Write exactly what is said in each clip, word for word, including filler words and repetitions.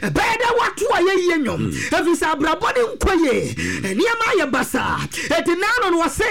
Ɛbɛyɛ dɛ woato a yɛyie nnwom, ɛfiri sɛ abrabɔ ne nkɔ yie, nneɛma ayɛ basaa. Ɛti naano no wɔse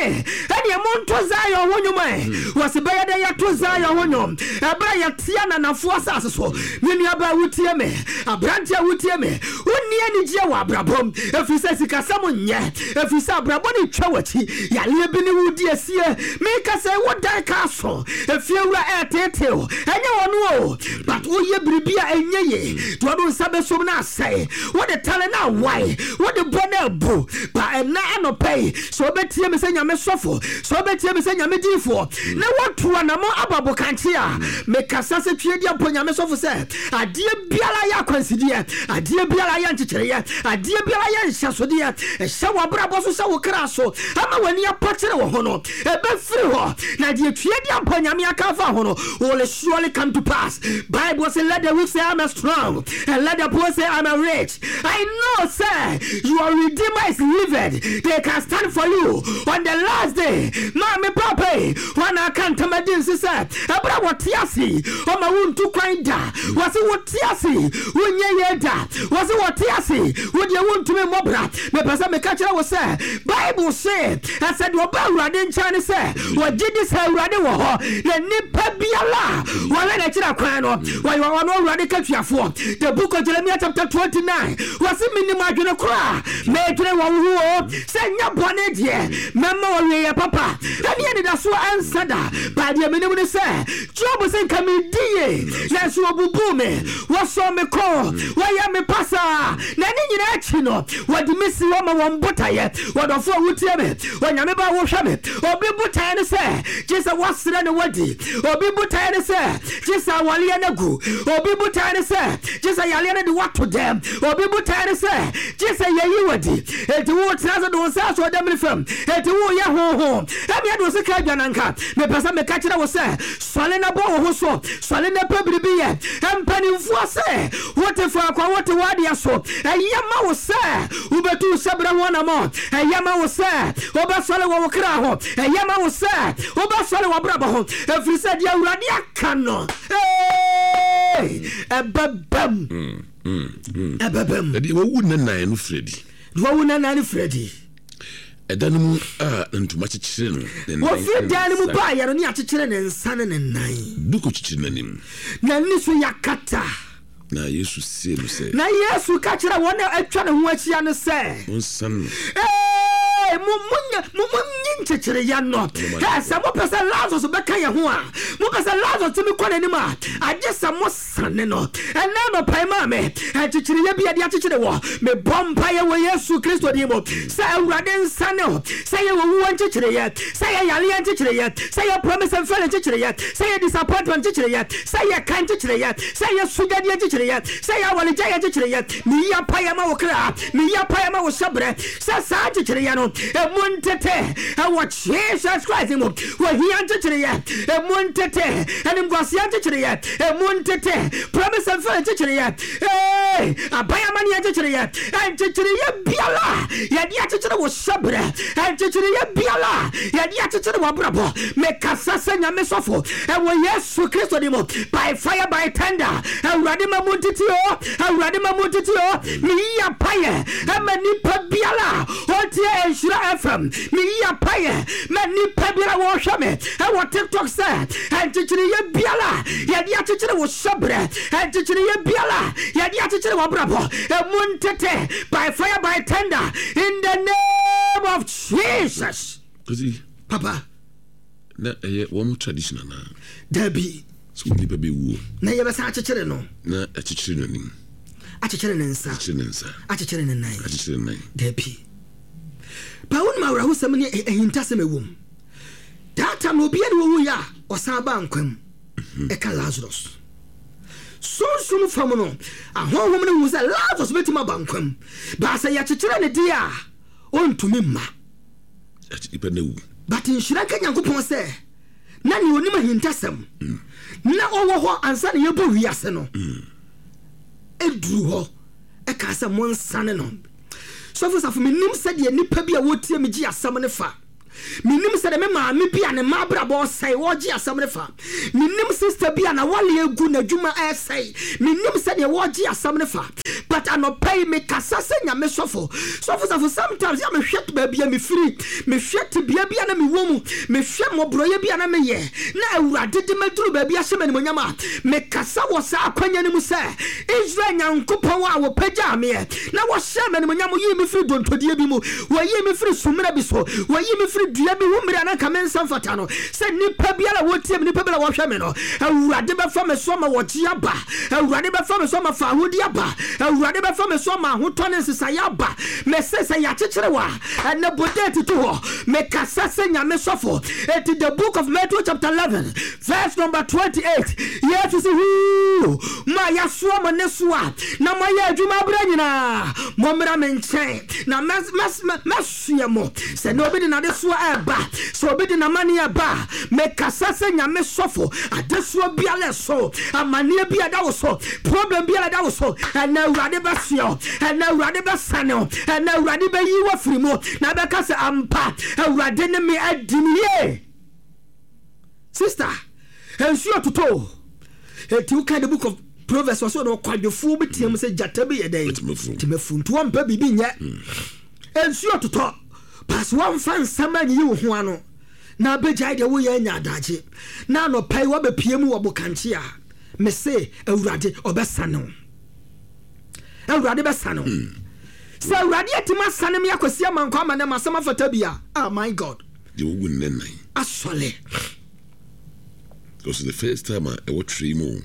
ɛneɛ monto Zion ho nnwom ɛ. Wɔse bɛyɛ dɛ yɛto Zion ho nnwom ɛberɛ a yɛtea nanafoɔ asase so. Me nuabaa wotie me, aberante a wotie me, wonni anigyeɛ wɔ abrabɔm ɛfiri sɛ sikasɛm nyɛ, ɛfiri sɛ abrabɔ ne twa w'akyi, yaleɛ bi ne wodi asie. Meka sɛ wodan ka so efie wura ɛɛteetew, ɛnyɛ wɔno o, but woyɛ biribi a ɛnyɛ ye, deɛ ɔde nsa bɛsom no asɛe, wode tale no awae, wode bɔ no abu ba. Ɛna anɔpɛ yi, sɛ wobɛtie me sɛ Nyame sɔfo, sɛ wobɛtie me sɛ Nyame diifoɔ na woatu anamɔ aba bokankye a, mekasa sɛ Tweaduampɔn Nyame sɔfo sɛ adeɛ biara yɛ akwansideɛ, adeɛ biara yɛ nkyekyereyɛ, adeɛ biara yɛ nhyɛsodeɛ ɛhyɛ w'abrabɔ so, sɛ wo kra so ama w'ani apakyere wɔ ho no, ɛbɛfiri hɔ, na deɛ Tweaduampɔn Nyame aka afa ho no will surely come to pass. Bible say, "Let the weak say, I'm a strong, and let the poor say, I'm a rich." I know, sir, your Redeemer is living. They can stand for you on the last day. Maame, papa, wɔn aka ntamadi nsi sɛ ɛberɛ a wɔte ase ɔma wontu kwan da, wɔse wote ase wonyɛ yie da, wɔse wɔte ase wodeɛ wontumi mmɔbra. Mepɛ sɛ meka kyerɛ wo sɛ Bible se ɛsɛ deɛ ɔba Awurade nkyɛn ne sɛ wɔgye di sɛ Awurade wɔ hɔ, na nnipa biara a wɔhwɛ n'akyiri kwan no, wɔyɛ ɔno Awurade katuafoɔ. The Book of Jeremiah chapter twenty-nine, wɔse menim adwene koro a meedwene wɔ wo ho o, sɛ nyɛ bɔne deɛ, mɛma wɔwie yɛ papa ɛne anidasoɔ ɛnsa da. Baadeɛ menim ne sɛ Job sɛ nka medi ye, nanso wɔbubuu me, wɔsɔ me kɔn, wɔyɛ me pasaa, na ne nyinaa akyi no wɔde me si hɔ ma wɔn botaeɛ. Wɔdɔfo a wotie me, Onyame ba a wohwɛ me, obi botaeɛ ne sɛ gye sɛ woasrɛ ne wadi, obi botaeɛ ne sɛ gye sɛ awaleɛ no agu, obi botaeɛ ne sɛ gye sɛ yaleɛ no de woato dɛm, obi botaeɛ ne sɛ gye sɛ yɛyi wadi. Enti wotena sɛ de wo nsa asɔ dɛm ne fam, enti woyɛ honhom ɛmeɛ de wo sika adwananka. Mepɛ sɛ meka kyerɛ wo sɛ sɔle na bɔ wo ho so, sɔle na pɛ biribi yɛ. Mpanimfoɔ sɛ wote faako a wote w'adeɛ so, ɛyɛ ma wo sɛ wobɛtu hyɛberɛ ho anammɔ, ɛyɛ ma wo sɛ wobɛsɔle wɔ wo kra ho, ɛyɛ ma wo sɛ wobɛsɔle wɔ brabɔ ho, ɛfiri sɛ deɛ Awurade aka no ɛbɛbam, ɛbɛbam. Ɛdeɛ wawu ne nan no firi adi. Deɛ wawu ne nan no firi adi. Ɛda no mu a ntoma kyekyere no ne nan. Wɔfiri dan no mu baayɛ no ne akyekyere ne nsa ne ne nan. Duku kyekyere n'anim. N'ani so yɛakata. Na Yesu sie no sɛ. Na Yesu ka kyerɛ wɔn a atwa ne ho ahyia no sɛ. Monsan no. Ee, mo mo mo monyi nkyekyereyɛ no. Ɛ sɛ mopɛ sɛ Lazarus bɛka yɛn ho a, mopɛ sɛ Lazarus tumi kɔ n'anim a, agye sɛ mo sane no. Ɛnɛ anɔpa maa me nkyekyereyɛ bi a yɛde akyekyere wɔ, mebɔ mpaeɛ wɔ Yesu Kristo din mu sɛ Awurade nsane wo, sɛ yɛ wɔwuwɔ nkyekyereyɛ, sɛ yɛ yareɛ nkyekyereɛ, sɛ yɛ promise and fail nkyekyereɛ, sɛ yɛ disappointment nkyekyereɛ, sɛ yɛ ka nkyekyereɛ, sɛ yɛ sugyadeɛ nkyekyereɛ, sɛ yɛ awaregyaeɛ nkyekyereɛ, meyi apaeɛ ma wo kra, meyi apaeɛ ma wo hyɛberɛ sɛ saa nkyekyereɛ no ɛmu ntete ɛwɔ Jesus Christ mu. Wɔhia nkyekyereɛ ɛmu ntete, animguaseɛ nkyekyereɛ ɛmu ntete, promise and fail nkyekyereɛ, ee aban amanneɛ nkyekyereɛ, nkyekyereɛ biara yɛde akyekyere wo hyɛberɛ, nkyekyereɛ biara yɛde akyekyere w'abrabɔ, mekasa sɛ Nyame sɔfo ɛwɔ Yesu Kristo di mu, by fire, by thunder, Awurade ma mu ntete o, Awurade ma mu ntete o. Meyi apayɛ ɛma nipa biara ɔtie Nhyira F M, meyi apayɛ ma nipa biara wɔhwɛ me ɛwɔ TikTok sɛ nkyekyereyɛ biara yɛde akyekyere wo hyɛberɛ, nkyekyereyɛ biara yɛde akyekyere w'abrabɔ, ɛmu ntete by fire, by thunder, in the name of Jesus. Kosi. Papa. Na ɛyɛ wɔn tradition anaa? Dabi. Sɛ wɔn nipa bɛwuo. Na yɛbɛsan akyekyere no. Na akyekyere n'anim. Akyekyere ne nsa. Akyekyere ne nsa. Akyekyere ne nan. Akyekyere ne nan. Dabi. Ba wonim awerɛhosɛm ne ahintasɛm ɛwɔ mu. That time obiara ne wɔwu yɛ a ɔsan ba nkwa mu. Ɛka Lazarus. Sunsum fam no, ahonhom no hu sɛ Lazarus bɛtumi aba nkwa mu. Baasa yɛkyekyere ne deɛ a, ɔntumi mma. Nipa na wu. But nhyira nka Nyankopɔn sɛ na nea onim ahintasɛm na ɔwɔ hɔ ansa na yɛbɔ wiase no ɛduru hɔ ɛka sɛ monsane no. Sɔfo Safo, menim sɛdeɛ nnipa bi a wɔtie me gye asɛm no fa. Menim sɛ de me maame bi a ne mma abrabɔ ɔsɛe wɔgye asɛm ne fa. Menim sister bi a na wale egu n'adwuma ɛsɛe. Menim sɛ deɛ wɔgye asɛm ne fa. But anɔpa yi mekasa sɛ Nyame sɔfo. Sɔfo sɔfo sometimes yɛ mehwɛ baabi a mefiri, mehwɛ tebea bi a na mewɔ mu, mehwɛ mmɔborɔyɛ bi a na meyɛ, na Awurade de maduru baabi ahyɛ me animuonyam a, mekasa wɔ saa akwanya no mu sɛ Israel Nyankopɔn a wɔpagyaa meɛ na wɔhyɛɛ me animuonyam, yii me firi dontodie bi mu, wɔyii me firi summerɛ bi so, wɔyii me firi dua bi ho mmerɛ a na nka me nsa mfata no, sɛ nnipa biara a wɔtie me, nnipa biara a wɔhwɛ me no, Awurade bɛfa me so ama wɔgye aba, Awurade bɛfa me so ama faahodi aba, Awurade bɛfa me so ama ahotɔ ne nsesaeɛ aba. Mese sɛ yɛakyekyere wo a, ɛnɛ bɔ date to hɔ. Mekasa sɛ Nyame sɔfo. Enti the book of Matthew chapter eleven verse number twenty-eight, Yesu se, Huu, mo a yɛasoa mo ne so a na moayɛ adwuma abrɛ nyinaa, mommra me nkyɛn na mɛsoɛ mo. Sɛ na obi de n'adesoa ɛreba, sɛ obi de n'amanneɛ ɛba a, mekasa sɛ Nyame sɔfo. Adesoa biara ɛso, amanneɛ bi a ɛda wo so, problem biara ɛda wo so, ɛnɛ Awurade bɛsoɛ wo, ɛnɛ Awurade bɛsane wo, ɛnɛ Awurade bɛyi wo afiri mu, na bɛka sɛ ampa Awurade ne me adi ne yie. Sister, nsuo totɔ. Enti woka the book of Proverbs wɔ so na ɔkwadwofoɔ bi team sɛ gyata bi yɛ dɛn? Temafu. Nti wɔmpɛ biribi nyɛ. Nsuo totɔ. Pass wɔmfa nsɛm anyiyi wo ho ano. Na abɛgyae deɛ woyɛ anya adagye. Na anɔpa yi wɔbɛpie mu wɔ bokankye a, mese Awurade ɔbɛsane wo. Awurade bɛsane wo. Sɛ Awurade atumi asane me akɔsi amankɔ ama ne masɛm afata bi a, ah my God. Deɛ wowu nnɛ nnan. Asɔle. Because the first time a ɛwɔ twerɛ mu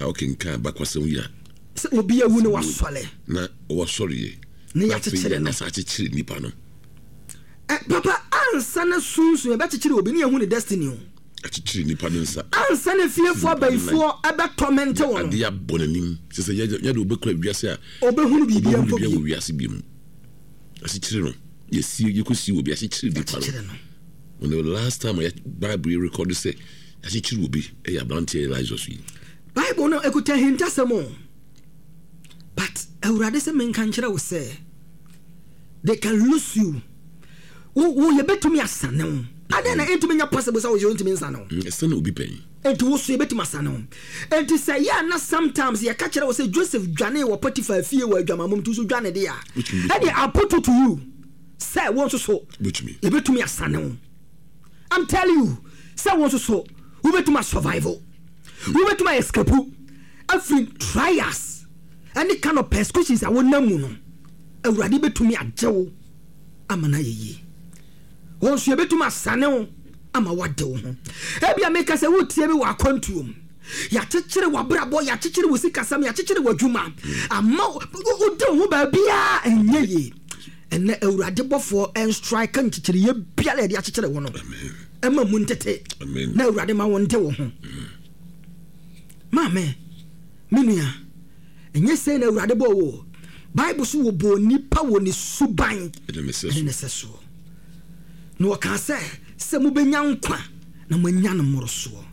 a wokenkan abakwasɛm yi a, sɛ obi awu ne wasɔle. Na wasɔreɛ. Ne yɛakyekyere no. Na akyekyere nipa no. Eh, papa, ansa na sunsun yɛbɛkyekyere obi ne yɛhu ne destiny o. Akyekyere nipa no nsa. Ansa na fiefoɔ abayifoɔ ɛbɛtɔmɛnte wɔ no. Adeɛ abɔ n'anim. Sɛ sɛ yɛde obɛkura wiase a, obɛhunu biribi mpo bi. Wɔ wiase bi mu. Akyekyere no. Yɛsi yɛkɔsi obi akyekyere nipa no. When the last time I Bible record sɛ akyekyere obi ɛyɛ aberanteɛ Lazarus yi. Bible no ekuta hintasɛm o. But Awurade sɛ menka nkyerɛ wo sɛ they can lose you. Wo wo yɛbɛtumi asane wo. Adɛn na ɛntumi nyɛ possible sɛ wo yɛ ntumi nsane wo? Ɛsane obi pɛn. Enti wo so yɛbɛtumi asane wo. Enti sɛ yɛ a na sometimes yɛka kyerɛ wo sɛ Joseph dwane wɔ Potiphar fie wɔ adwamammom nti wo so dwane de a, ɛdeɛ I put it to you sɛ wo nso so yɛbɛtumi asane wo. I'm telling you sɛ wo nso so wobɛtumi asurvive, wobɛtumi ayɛ escape afiri trials ɛne kind of persecutions a wonam mu no. Awurade bɛtumi agye wo ama no ayɛ yie. Wɔn nso yɛbɛtumi asane wo ama wade wo ho. Ebia meka sɛ wotie me wɔ akwantuo mu, yɛakyekyere w'abrabɔ, yɛakyekyere wo sikasɛm, yɛakyekyere w'adwuma ama wode wo ho baabiaa ɛnyɛ yie. Ɛnɛ Awurade bɔfoɔ ɛnstrike nkyekyereyɛ biara yɛde akyekyere wo no ɛma mu ntete na Awurade ma wo nde wo ho. Maame, me nua, ɛnyɛ sɛ na Awurade bɔɔ wo. Bible so wɔbɔɔ nipa wɔ ne suban ɛne ne sɛ soɔ. Na wɔkaa sɛ sɛ mobɛnya nkwa na moanya no mmorosoɔ.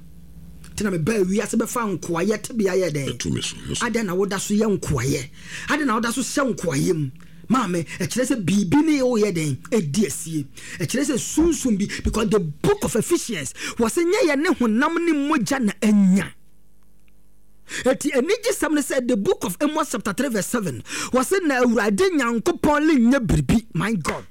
Nti na mebaa wiase bɛfa nkoayɛ tebea yɛ dɛn? Adɛn na woda so yɛ nkoayɛ? Adɛn na woda so hyɛ nkoayɛ mu? Maame, ɛkyerɛ sɛ biribi ne woyɛ dɛn? Ɛdi asie. Ɛkyerɛ sɛ sunsum bi, because the book of Ephesians wɔ sɛ nyɛ yɛ ne honam ne mogya na anya. Eti anigyesɛm ne sɛ the book of Amos chapter three verse seven wɔ sɛ na Awurade Nyankopɔn lenyɛ biribi. My God.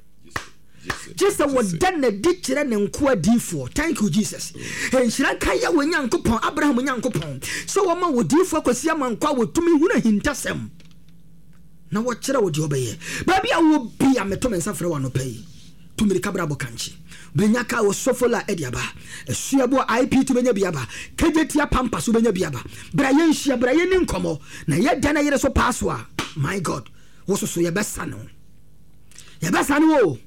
Gye sɛ wɔda n'adi kyerɛ ne nkoa diifoɔ. Thank you Jesus. Nhyira nka yɛ wɔ Nyankopɔn, Abraham Nyankopɔn, sɛ wɔma wɔ diifoɔ akwasi ama nkɔ a wɔtumi hunu ahintasɛm na wɔkyerɛ wo deɛ ɔbɛyɛ. Baabi a wɔ bi a meto me nsa frɛ wɔ anɔpa yi, tu mmirika bra bɔ kankye. Bɛnya ka wɔ Sofola ɛde aba. Asuaboa I P T bɛnya bi aba. K J T Pampa so bɛnya bi aba. Bra yɛnhyia, bra yɛni nkɔmmɔ. Na yɛda na yere so paa so a, my God, wo soso yɛbɛsane wo. Yɛbɛsane wo.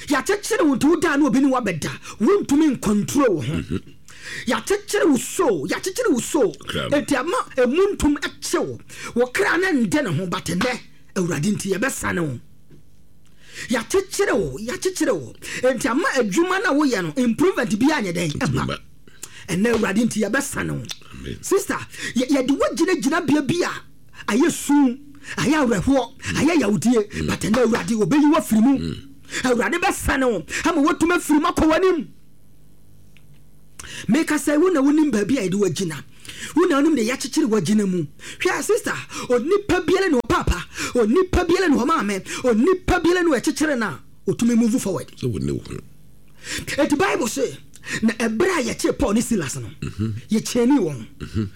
Yɛakyekyere wo nti wo daa na obi ne wabɛda. Wontumi ncontrol wo ho. Yɛakyekyere wo so, yɛakyekyere wo so. Enti ama emu ntom akye wo. Wo kra ne nde ne ho, but nnɛ Awurade nti yɛbɛsane wo. Yɛakyekyere wo, yɛakyekyere wo. Enti ama adwuma na woyɛ no improvement bi anyɛ dɛn ɛma. Ɛnnɛ Awurade nti yɛbɛsane wo. Sister, yɛde wo gyinagyina bea bi a ayɛ sum, ayɛ awerɛhoɔ, ayɛ yawdie, but ɛnnɛ Awurade obɛyi wo afiri mu. Awurade bɛsane wo ama woatumi afiri mu akɔ w'anim. Meka sɛ wo na wonim baabi a yɛde wagyina, wo na wonim de yɛakyekyere wagyina mu. Hwɛ sister, onipa biara ne ɔpaapa, onipa biara ne ɔmaame, onipa biara ne ɔkyekyere no a ɔtumi move forward. Sɛ wo ne wo ho. Eti Bible se na ɛberɛ a yɛkyee Paul ne Silas no, yɛkyɛnii wɔn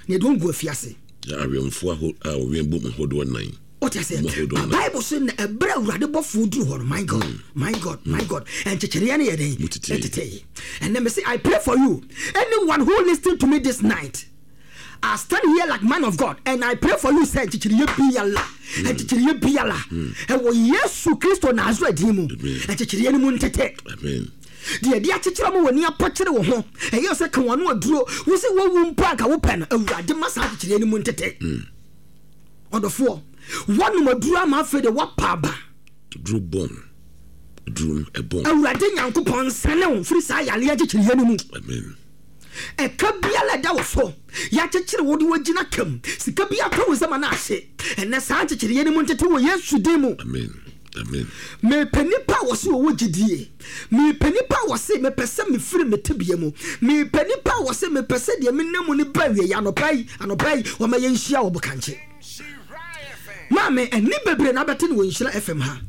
na yɛde wɔn gu afiase. Na awɛmfoɔ a wɔwɛn bom ahodoɔ nnan. Wote aseɛ? Bible se na ɛberɛ a Awurade bɔfoɔ duru hɔ no, my God, my God, my God, ɛnkyekyereɛ no yɛ dɛn? Ɛtetee. And then me say, I pray for you, anyone who listen to me this night, I stand here like man of God and I pray for you sɛ nkyekyereɛ biara, nkyekyereɛ biara ɛwɔ Yesu Kristo Nasaret din mu, nkyekyereɛ no mu ntete. Amen. Deɛ ɛde akyekyere mu wɔ ni apɔkyere wo ho, ɛyɛ sɛ ka wɔn ano aduro, wo sɛ wɔwu mpo anka wopɛ no, Awurade ma saa akyekyerɛ no mu ntete. Ɔdɔfoɔ, wɔnom aduro ama afei de wɔapa aba. Duro bɔn, duro no ɛbɔn. Awurade Nyankopɔn nsane wo firi saa yareɛ akyekyerɛ no mu. Amen. Ɛka biara ɛda wo so, yɛakyekyere wo de woagyina kam, sika bi atɔ wo nsam ana ahye. Ɛnɛ saa nkyekyereyɛ no mu ntete wɔ Yesu din mu. Amen. Amen. Mepɛ nipa a wɔse wɔwɔ gyidie. Mepɛ nipa a wɔse mepɛ sɛ mefiri me tebea mu. Mepɛ nipa a wɔse mepɛ sɛ deɛ menam mu no ba awie. Anɔpa yi, anɔpa yi, wɔma yɛnhyia wɔ Bokankye. Maame, ɛne bebree na abɛte no wɔ Nhyira F M ha.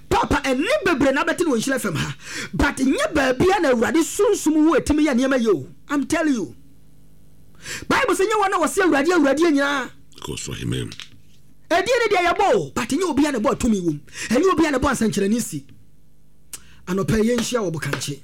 Papa, ɛne bebree na abɛte no wɔ Nhyira F M ha. But nyɛ baabia na Awurade sunsum wo ɛtumi yɛ nneɛma yɛ o. I'm telling you. Bible sɛ nyɛ wɔn a wɔse Awurade, Awurade nyinaa. Kɔ so ahemman. Ɛdeɛ ne deɛ yɛbɔ o, but nyɛ obiara na ɛbɔ atumi wom. Ɛnyɛ obiara na ɛbɔ ansɛnkyerɛnne si. Anɔpa yɛnhyia wɔ Bokankye.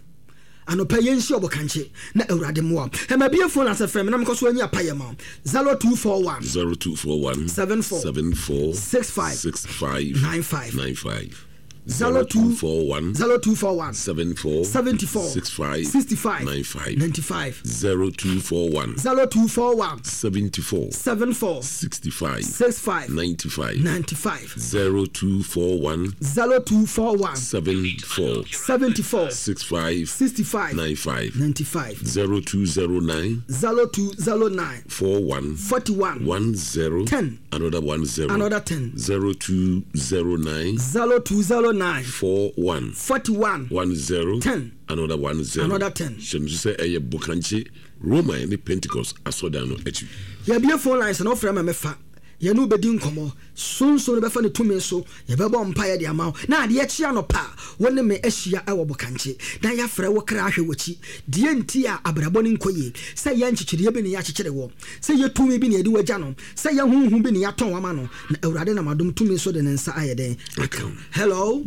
Anɔpa yɛnhyia wɔ Bokankye na Awurade mmoa. Ɛma bie phone asɛ frɛ me na mekɔ so anyi apayɛ ma. zero two four one zero two four one seven four seven four six five six five nine five nine five zero two four one zero two four one seven four seventy four six five sixty five nine five ninety five zero two four one zero two four one seventy four seven four sixty five six five ninety five ninety five zero two four one zero two four one seven four seventy four six five sixty five nine five ninety five zero two zero nine zero two zero nine four one forty one one zero ten another one zero another ten zero two zero nine zero two zero nine four one forty one one zero ten another one zero another ten. Hyɛn so sɛ ɛyɛ Bokankye Roman ne Pentecost asɔdan no akyi. Yɛbie phone lines na ɔfrɛ ma mefa yɛne wobɛdi nkɔmmɔ sonson no bɛfa ne tumi so yɛbɛbɔ mpaeɛ de ama wo na adeɛ kye anɔpa wo ne me ahyia ɛwɔ Bokankye na yɛafrɛ wo kra ahwɛ w'akyi deɛ nti a abrabɔ ne nkɔ yie sɛ yɛ nkyekyereɛ bi ne yɛakyekyere wɔ sɛ yɛ tumi bi ne yɛde wagya no sɛ yɛ honhom bi ne yɛatɔn ama no na Awurade nam adom tumi so de ne nsa ayɛ dɛn aka. Hello.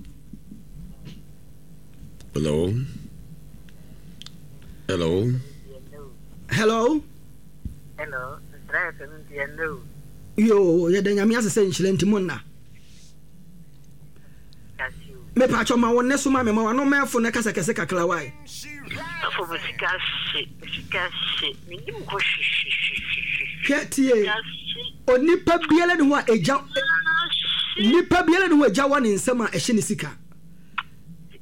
Hello. Hello. Hello. Hello. Yo, yɛda Nyame ase sɛ nhyira nti mo nna. Me pa cho ma wonne so ma me ma wano mɛfo ne kasa kɛse kakra wae. Afo me sika hye, me sika hye, me nim ko hye hye hye. Hwɛ tie. Onipa biara ne ho a egya nipa biara ne ho egya wɔ ne nsɛm a ɛhyɛ ne sika.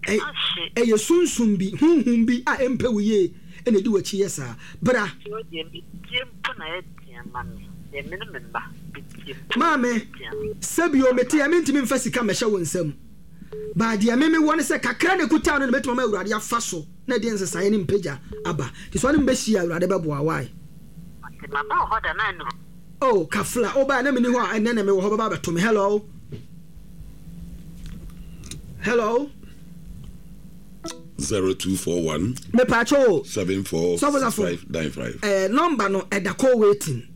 Ɛyɛ sunsum bi, honhom bi a ɛmpɛ wo yie ɛna ɛdi w'akyi yɛ saa. Bra. Maame, sɛbio mete a mentumi mfa sika mmɛhyɛ wo nsam. Baa deɛ me mewɔ ne sɛ kakra na ɛkuta no na mɛtumi ama Awurade afa so na ɛde nsesaeɛ ne mpagya aba. Nti sɛ ɔne mbɛhyia Awurade bɛboa wae. Oh, kafla, wo baa na menni hɔ a ɛnnɛ na mewɔ hɔ bɛba abɛto me. Hello. Hello. zero two four one Me pacho seven four six five nine five. Eh, number no ɛda call waiting.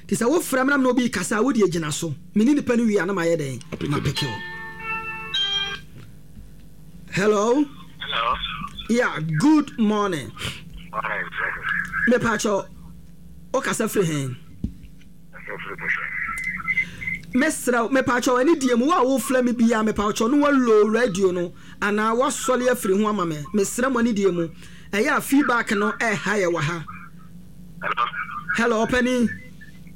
Ti sɛ wo frɛ me na obi kasa wo de gyina so. Me ni nipa no wi ana ma yɛ den. Ma pick you. Hello. Hello. Yeah, good morning. Morning. Me pacho o kasa free hen. Mesra me pacho ani die mu wa wo frɛ me bia me pacho no wa low radio no ana wa sɔle afiri ho ama me. Mesra mo ani die mu. Ɛyɛ a feedback no eh ha ye wa ha. Hello. Hello, Penny.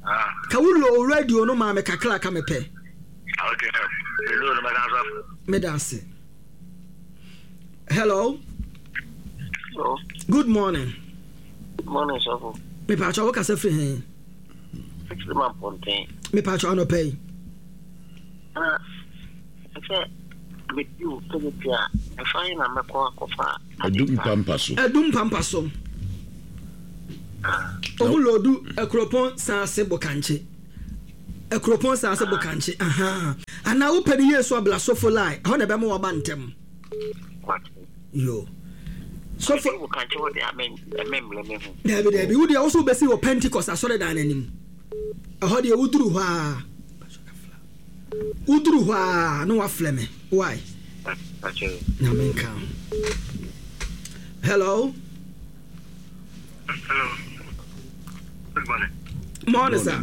Ah. Ka wo low radio no ma me kakra ka me pɛ. Okay. Me low no ma ka Me dance. Hello. Hello. Good morning. Good morning, sir. Me pacho wo kasa firi hen. Six man ponte. Me pacho ano pay. Ah. Sɛ Medu Kejetia, ɛfa na mɛkɔ akɔfa. Adum pampa so. Adum pampa so. Ɔmo loodu Akuropɔn Saase Bokankye. Akuropɔn Saase Bokankye. Aha. Anaa wopɛ ne yie so abla Sofo line. Ɛhɔ na ɛbɛma waba ntɛm. Yo. Sofo. Bokankye wɔ de amɛmmerɛ me ho. Dabi dabi. Wo deɛ wo so wobɛsi wɔ Pentecost asɔredan n'anim. Ɛhɔ deɛ woduru hɔ a. Woduru hɔ a na waflɛ me. Why? Na menka. Hello. Hello. Good morning. Morning, sir.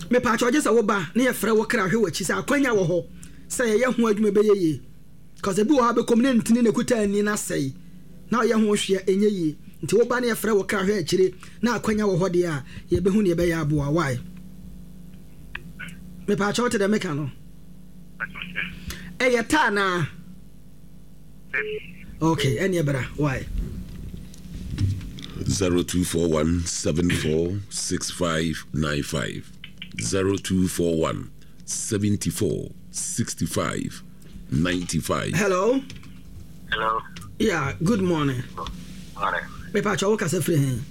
Me pa kyɛ sɛ woba na yɛfrɛ wo kra hwɛ w'akyi sɛ akwanya wɔ hɔ sɛ yɛyɛ ho adwuma bɛyɛ yie. Cause ebi wɔ hɔ a bɛkɔm ne ntini na kuta ani na sɛe na ɔyɛ ho hwɛ ɛnyɛ yie. Nti woba na yɛfrɛ wo kra hwɛ akyire na akwanya wɔ hɔ deɛ a yɛbɛhu ne yɛbɛyɛ aboa. Why? Me pa kyɛ wote dɛ meka no. Ɛyɛ taa naa. Okay, ɛneɛ bra. Why? zero two four one seven four six five nine five zero two four one seventy four sixty five ninety five. Hello. Hello. Yeah, good morning. Morning. Me pa kyɛ wo kasa firi he?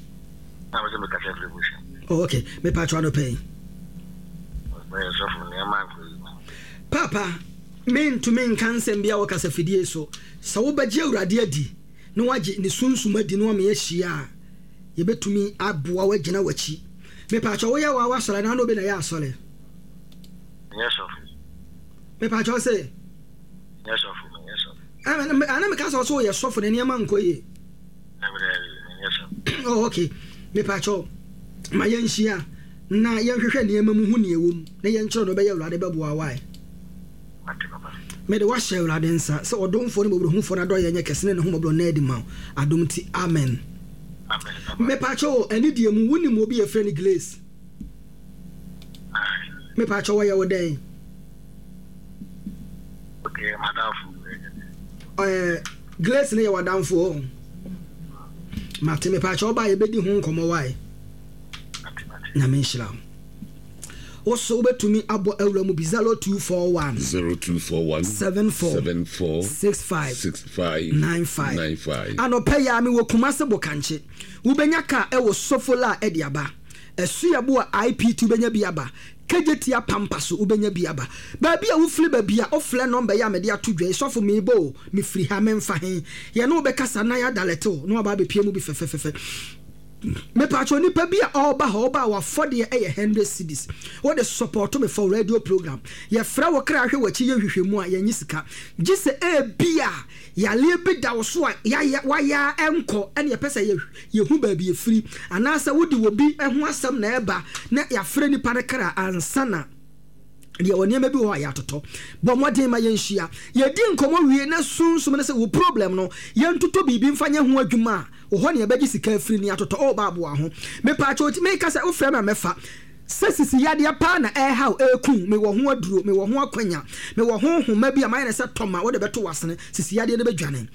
Na me sɛ me kasa firi Bush. Oh, okay. Me pa kyɛ no pɛn. Meyɛ sɔfo nneɛma nkɔ yi. Papa, mentumi nka nsɛm bi a wɔ kasa fidie so. Sɛ wobɛgye Awurade adi na wagye ne sunsum adi na wama yɛahyia a, yɛbɛtumi aboa woagyina w'akyi. Mepa kyɛ woyɛ wa wasɔre anaa na obi na yɛ asɔre? Nyɛ sɔfo. Mepa kyɛ sɛ? Nyɛ sɔfo, nyɛ sɔfo. Ana meka sɛ ɔsɛ woyɛ sɔfo na nneɛma nkɔ yie. Nyɛ sɔfo. Oh, okay. Mepa kyɛ ma yɛnhyia na yɛnhwehwɛ nneɛma mu hu nea ɛwɔ mu na yɛnkyerɛ no bɛyɛ Awurade bɛboa wae. Mede wahyɛ Awurade nsa sɛ ɔdomfoɔ ne mmɔborɔhufoɔ no adɔyɛ nyɛ kɛse ne ne ho mmɔborɔ na adi ma wo. Adom nti, amen. Mepa kyɛ o, ɛne deɛ mu wonim obi yɛfrɛ no Glaze. Mepa kyɛ wɔyɛ wo dɛn? Okay, madamfo. Eh, Glaze ne yɛ w'adamfo o. Mate, mepa kyɛ ɔba yɛbɛdi ho nkɔmmɔ wae. Na menhyira wo. Wo so wobɛtumi abɔ awura mu bi zero two four one zero two four one seven four seven four six five six five nine five nine five. Anɔpɛ yi a mewɔ Kumase Bokankye. Wobɛnya kaa ɛwɔ Sofola a ɛde aba. Ɛsuabu a I P T wobɛnya bi aba. Kejetia Pampa so wobɛnya bi aba. Baabi a wofiri baabi a wofrɛ nɔmba yi a mede ato dwa yi, sɔfo meebɔ o, mefiri ha memfa he. Yɛne wobɛkasa na yɛadalɛte wo na waba abɛpie mu bi fɛfɛfɛfɛ. Mepa kyɛ nipa bi a ɔba hɔ ɔba a wafɔdeɛ ɛyɛ hundred cedis. Wode support me for radio program. Yɛfrɛ wo kra hwɛ w'akyi yɛ hwehwɛ mu a yɛnyi sika. Gye sɛ ebi a yaleɛ bi da wo so a yayɛ wayɛ ɛnkɔ ɛne yɛpɛ sɛ yɛhu baabi efiri anaasɛ wode wɔ bi ho asɛm na ɛba na yɛafrɛ nipa no kra ansa na deɛ wɔ nneɛma bi wɔ hɔ a yɛatotɔ. Bɔ mmɔden ma yɛnhyia. Yɛdi nkɔmmɔ wie na sunsum no sɛ wo problem no yɛntotɔ biribi mfa nyɛ ho adwuma a wɔ hɔ ne yɛbɛgye sika afiri ne atotɔ. Ɔba aboa ho. Mepa kyɛ oti meka sɛ wofrɛ me a mɛfa. Sɛ sisi yadeɛ paa na ɛhaw ɛku mewɔ ho aduro, mewɔ ho akwanya, mewɔ ho nhoma bi a mayɛ ne sɛ tɔma wode bɛto w'asene sisi yadeɛ no bɛdwane.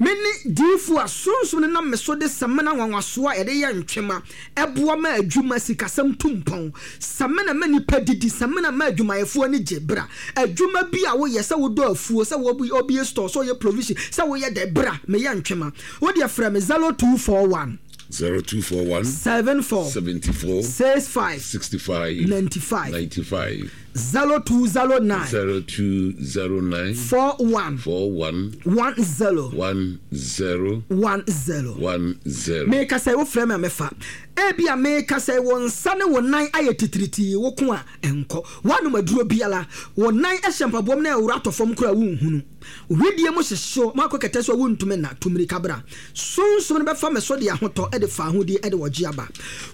Me ne diifo a sunsum no nam me so de samena nwanwasoɔ a yɛde yɛ ntwema ɛboa ma adwuma sikasɛm tu mpɔn. Samena ma nipa didi, samena ma adwumayɛfoɔ ani gye bra. Adwuma bi a woyɛ sɛ wodɔ afuo, sɛ wobie store, sɛ woyɛ provision, sɛ woyɛ dɛ bra, meyɛ ntwema. Wode frɛ me zero two four one zero two four one seven four seventy four six five sixty five ninety five ninety five zero two zero nine zero two zero nine four one four one one zero one zero one zero one zero. Meka sɛ wofrɛ me a mɛfa. Ebi a meka sɛ wo nsa ne wo nan ayɛ titiritii wo ko a ɛnkɔ. Woanom aduro biara wo nan ɛhyɛ mpaboam na ɛwura atɔ fam koraa wonhunu. Widie mu hyehyew makɔ kɛtɛ so wontumi na tumirika bra. Sunsum no bɛfa me so de ahotɔ ɛde fa ahodie ɛde wɔgye aba.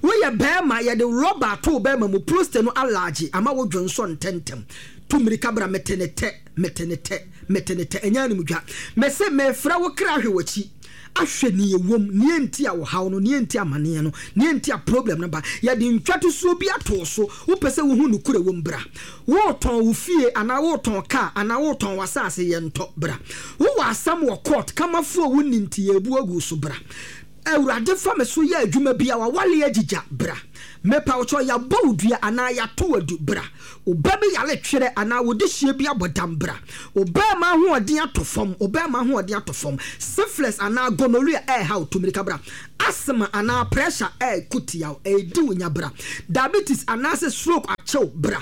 Woyɛ bɛrima yɛde rɔba ato bɛrima mu prostate no alaagye ama wo dwonsɔ ntɛntɛm. Tumirika bra mete ne tɛ mete ne tɛ mete ne tɛ ɛnyɛ animdwa. Mese mefrɛ wo kra hwɛ w'akyi. Ahwɛ ne ewom ne enti a wɔhaw no ne enti amaneɛ no ne enti a problem no ba. Yɛde ntwatosuo bi ato so wopɛ sɛ wohu nokore wom bra. Wotɔn wo fie anaa wotɔn kaa anaa wotɔn w'asase yɛntɔ bra. Wowɔ asɛm wɔ court kamafoɔ wo nni nti yɛbu agu so bra. Awurade fa me so yɛ adwuma bi a wawale agyigya bra. Mepa wo kyɛw, yɛabɔ wo dua anaa yɛato wo adu bra. Wo ba bi yare twerɛ anaa wo dehyeɛ bi abɔ dam bra. Wo barima ahoɔden atɔ fam, wo barima ahoɔden atɔ fam. Syphilis anaa gonorrhea ɛreha wo, tu mmirika bra. Asthma anaa pressure ɛreko tia wo, ɛredi wo nya bra. Diabetes anaasɛ stroke akye wo bra.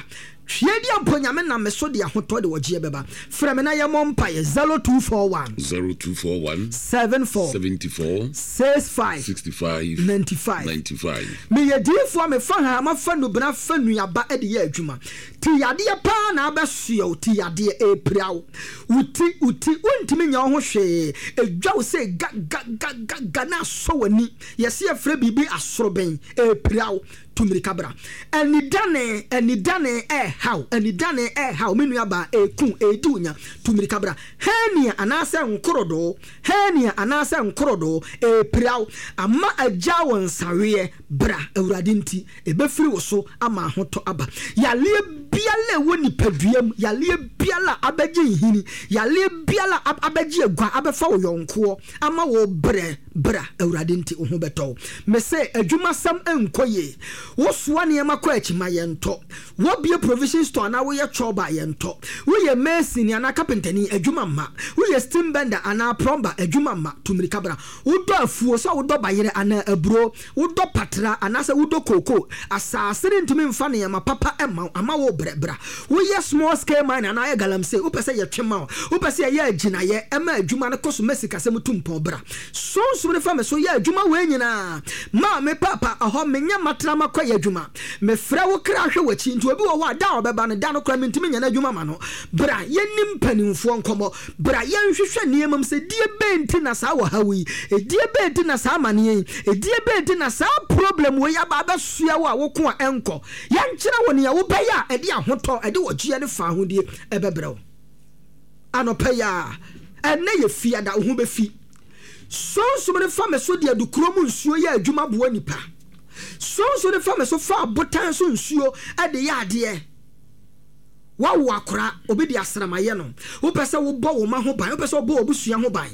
Hwɛ di mpo Nyame nam me so de ahotɔ de wɔgyeɛ bɛba. Frɛ me na yɛmmɔ mpaeɛ zero two four one zero two four one seven four seventy four six five sixty five ninety five ninety five. Meyɛ diyifoɔ a mefa hama fa nnubena fa nnuaba de yɛ adwuma. Ti yadeɛ paa na abɛsoɛ wo, ti yadeɛ ɛrepira wo. Wo ti, wo ti, wontumi nyɛ wo ho hwee. Ɛdwa wo sɛ ga ga ga ga ga na asɔ w'ani. Yɛse yɛfrɛ biribi asorobɛn, ɛrepira wo. Tu mmirika bra. Anidane, anidane ɛrehaw, anidane ɛrehaw, me nuabaa, ɛreku, ɛredi wo nya. Tu mmirika bra. Hernia anaasɛ nkorodoo, hernia anaasɛ nkorodoo, ɛrepira wo. Ama agya wo nsaweɛ, bra, Awurade nti, ɛbɛfiri wo so ama ahotɔ aba. Yaleɛ biara ɛwɔ nipadua mu, yaleɛ biara abɛgye nhini, yaleɛ biara abɛgye agua, abɛfa wo yɔnkoɔ, ama wo brɛ, bra, Awurade nti, wo ho bɛtɔ wo. Mese, adwumasɛm nkɔ yie. Wosoa nneɛma kɔ akyi ma yɛntɔ. Wobie provision store anaa woyɛ chɔba yɛntɔ. Woyɛ mason anaa carpentani adwuma mma. Woyɛ steam bender anaa plumber adwuma mma. Tu mmirika bra. Wodɔ afuo sɛ wodɔ bayerɛ anaa aburo, wodɔ patra anaasɛ wodɔ kooko. Asase ne ntumi mfa nneɛma papa ɛma wo, ama wo brɛ bra. Woyɛ small scale mine anaa yɛ galamsey, wopɛ sɛ yɛtwe ma wo, wopɛ sɛ yɛyɛ agyinayɛ ɛma adwuma no kɔ so ma sikasɛm tu mpɔn bra. Sunsum ne fa me so yɛ adwuma wei nyinaa. Ma me papa ɛhɔ menyɛ matena makɔ yɛ adwuma. Mefrɛ wo kra hwɛ w'akyi nti obi wɔ hɔ a da a ɔbɛba no da no kora mentumi nyɛ n'adwuma ma no. Bra yɛnim mpanimfoɔ nkɔmmɔ. Bra yɛnhwehwɛ nneɛma mu sɛ die bɛn nti na saa wɔhaw yi, edie bɛn nti na saa amanneɛ yi, edie bɛn nti na saa problem wei aba abɛsoa wo a woko a ɛnkɔ. Yɛnkyerɛ wo nea wobɛyɛ a ɛde ahotɔ, ɛde ɔgyeɛ ne fa ahodie ɛbɛbrɛ wo. Anɔpa yi a ɛnnɛ yɛ fiada, wo ho bɛfi. Sunsum ne fa me so de adukuro mu nsuo yɛ adwuma boa nipa. Sunsum ne fa me so fa abotan so nsuo de yɛ adeɛ. Wawo akora, obi de asramayɛ no. Wopɛ sɛ wobɔ wo ma ho ban, wopɛ sɛ wobɔ w'abusua ho ban.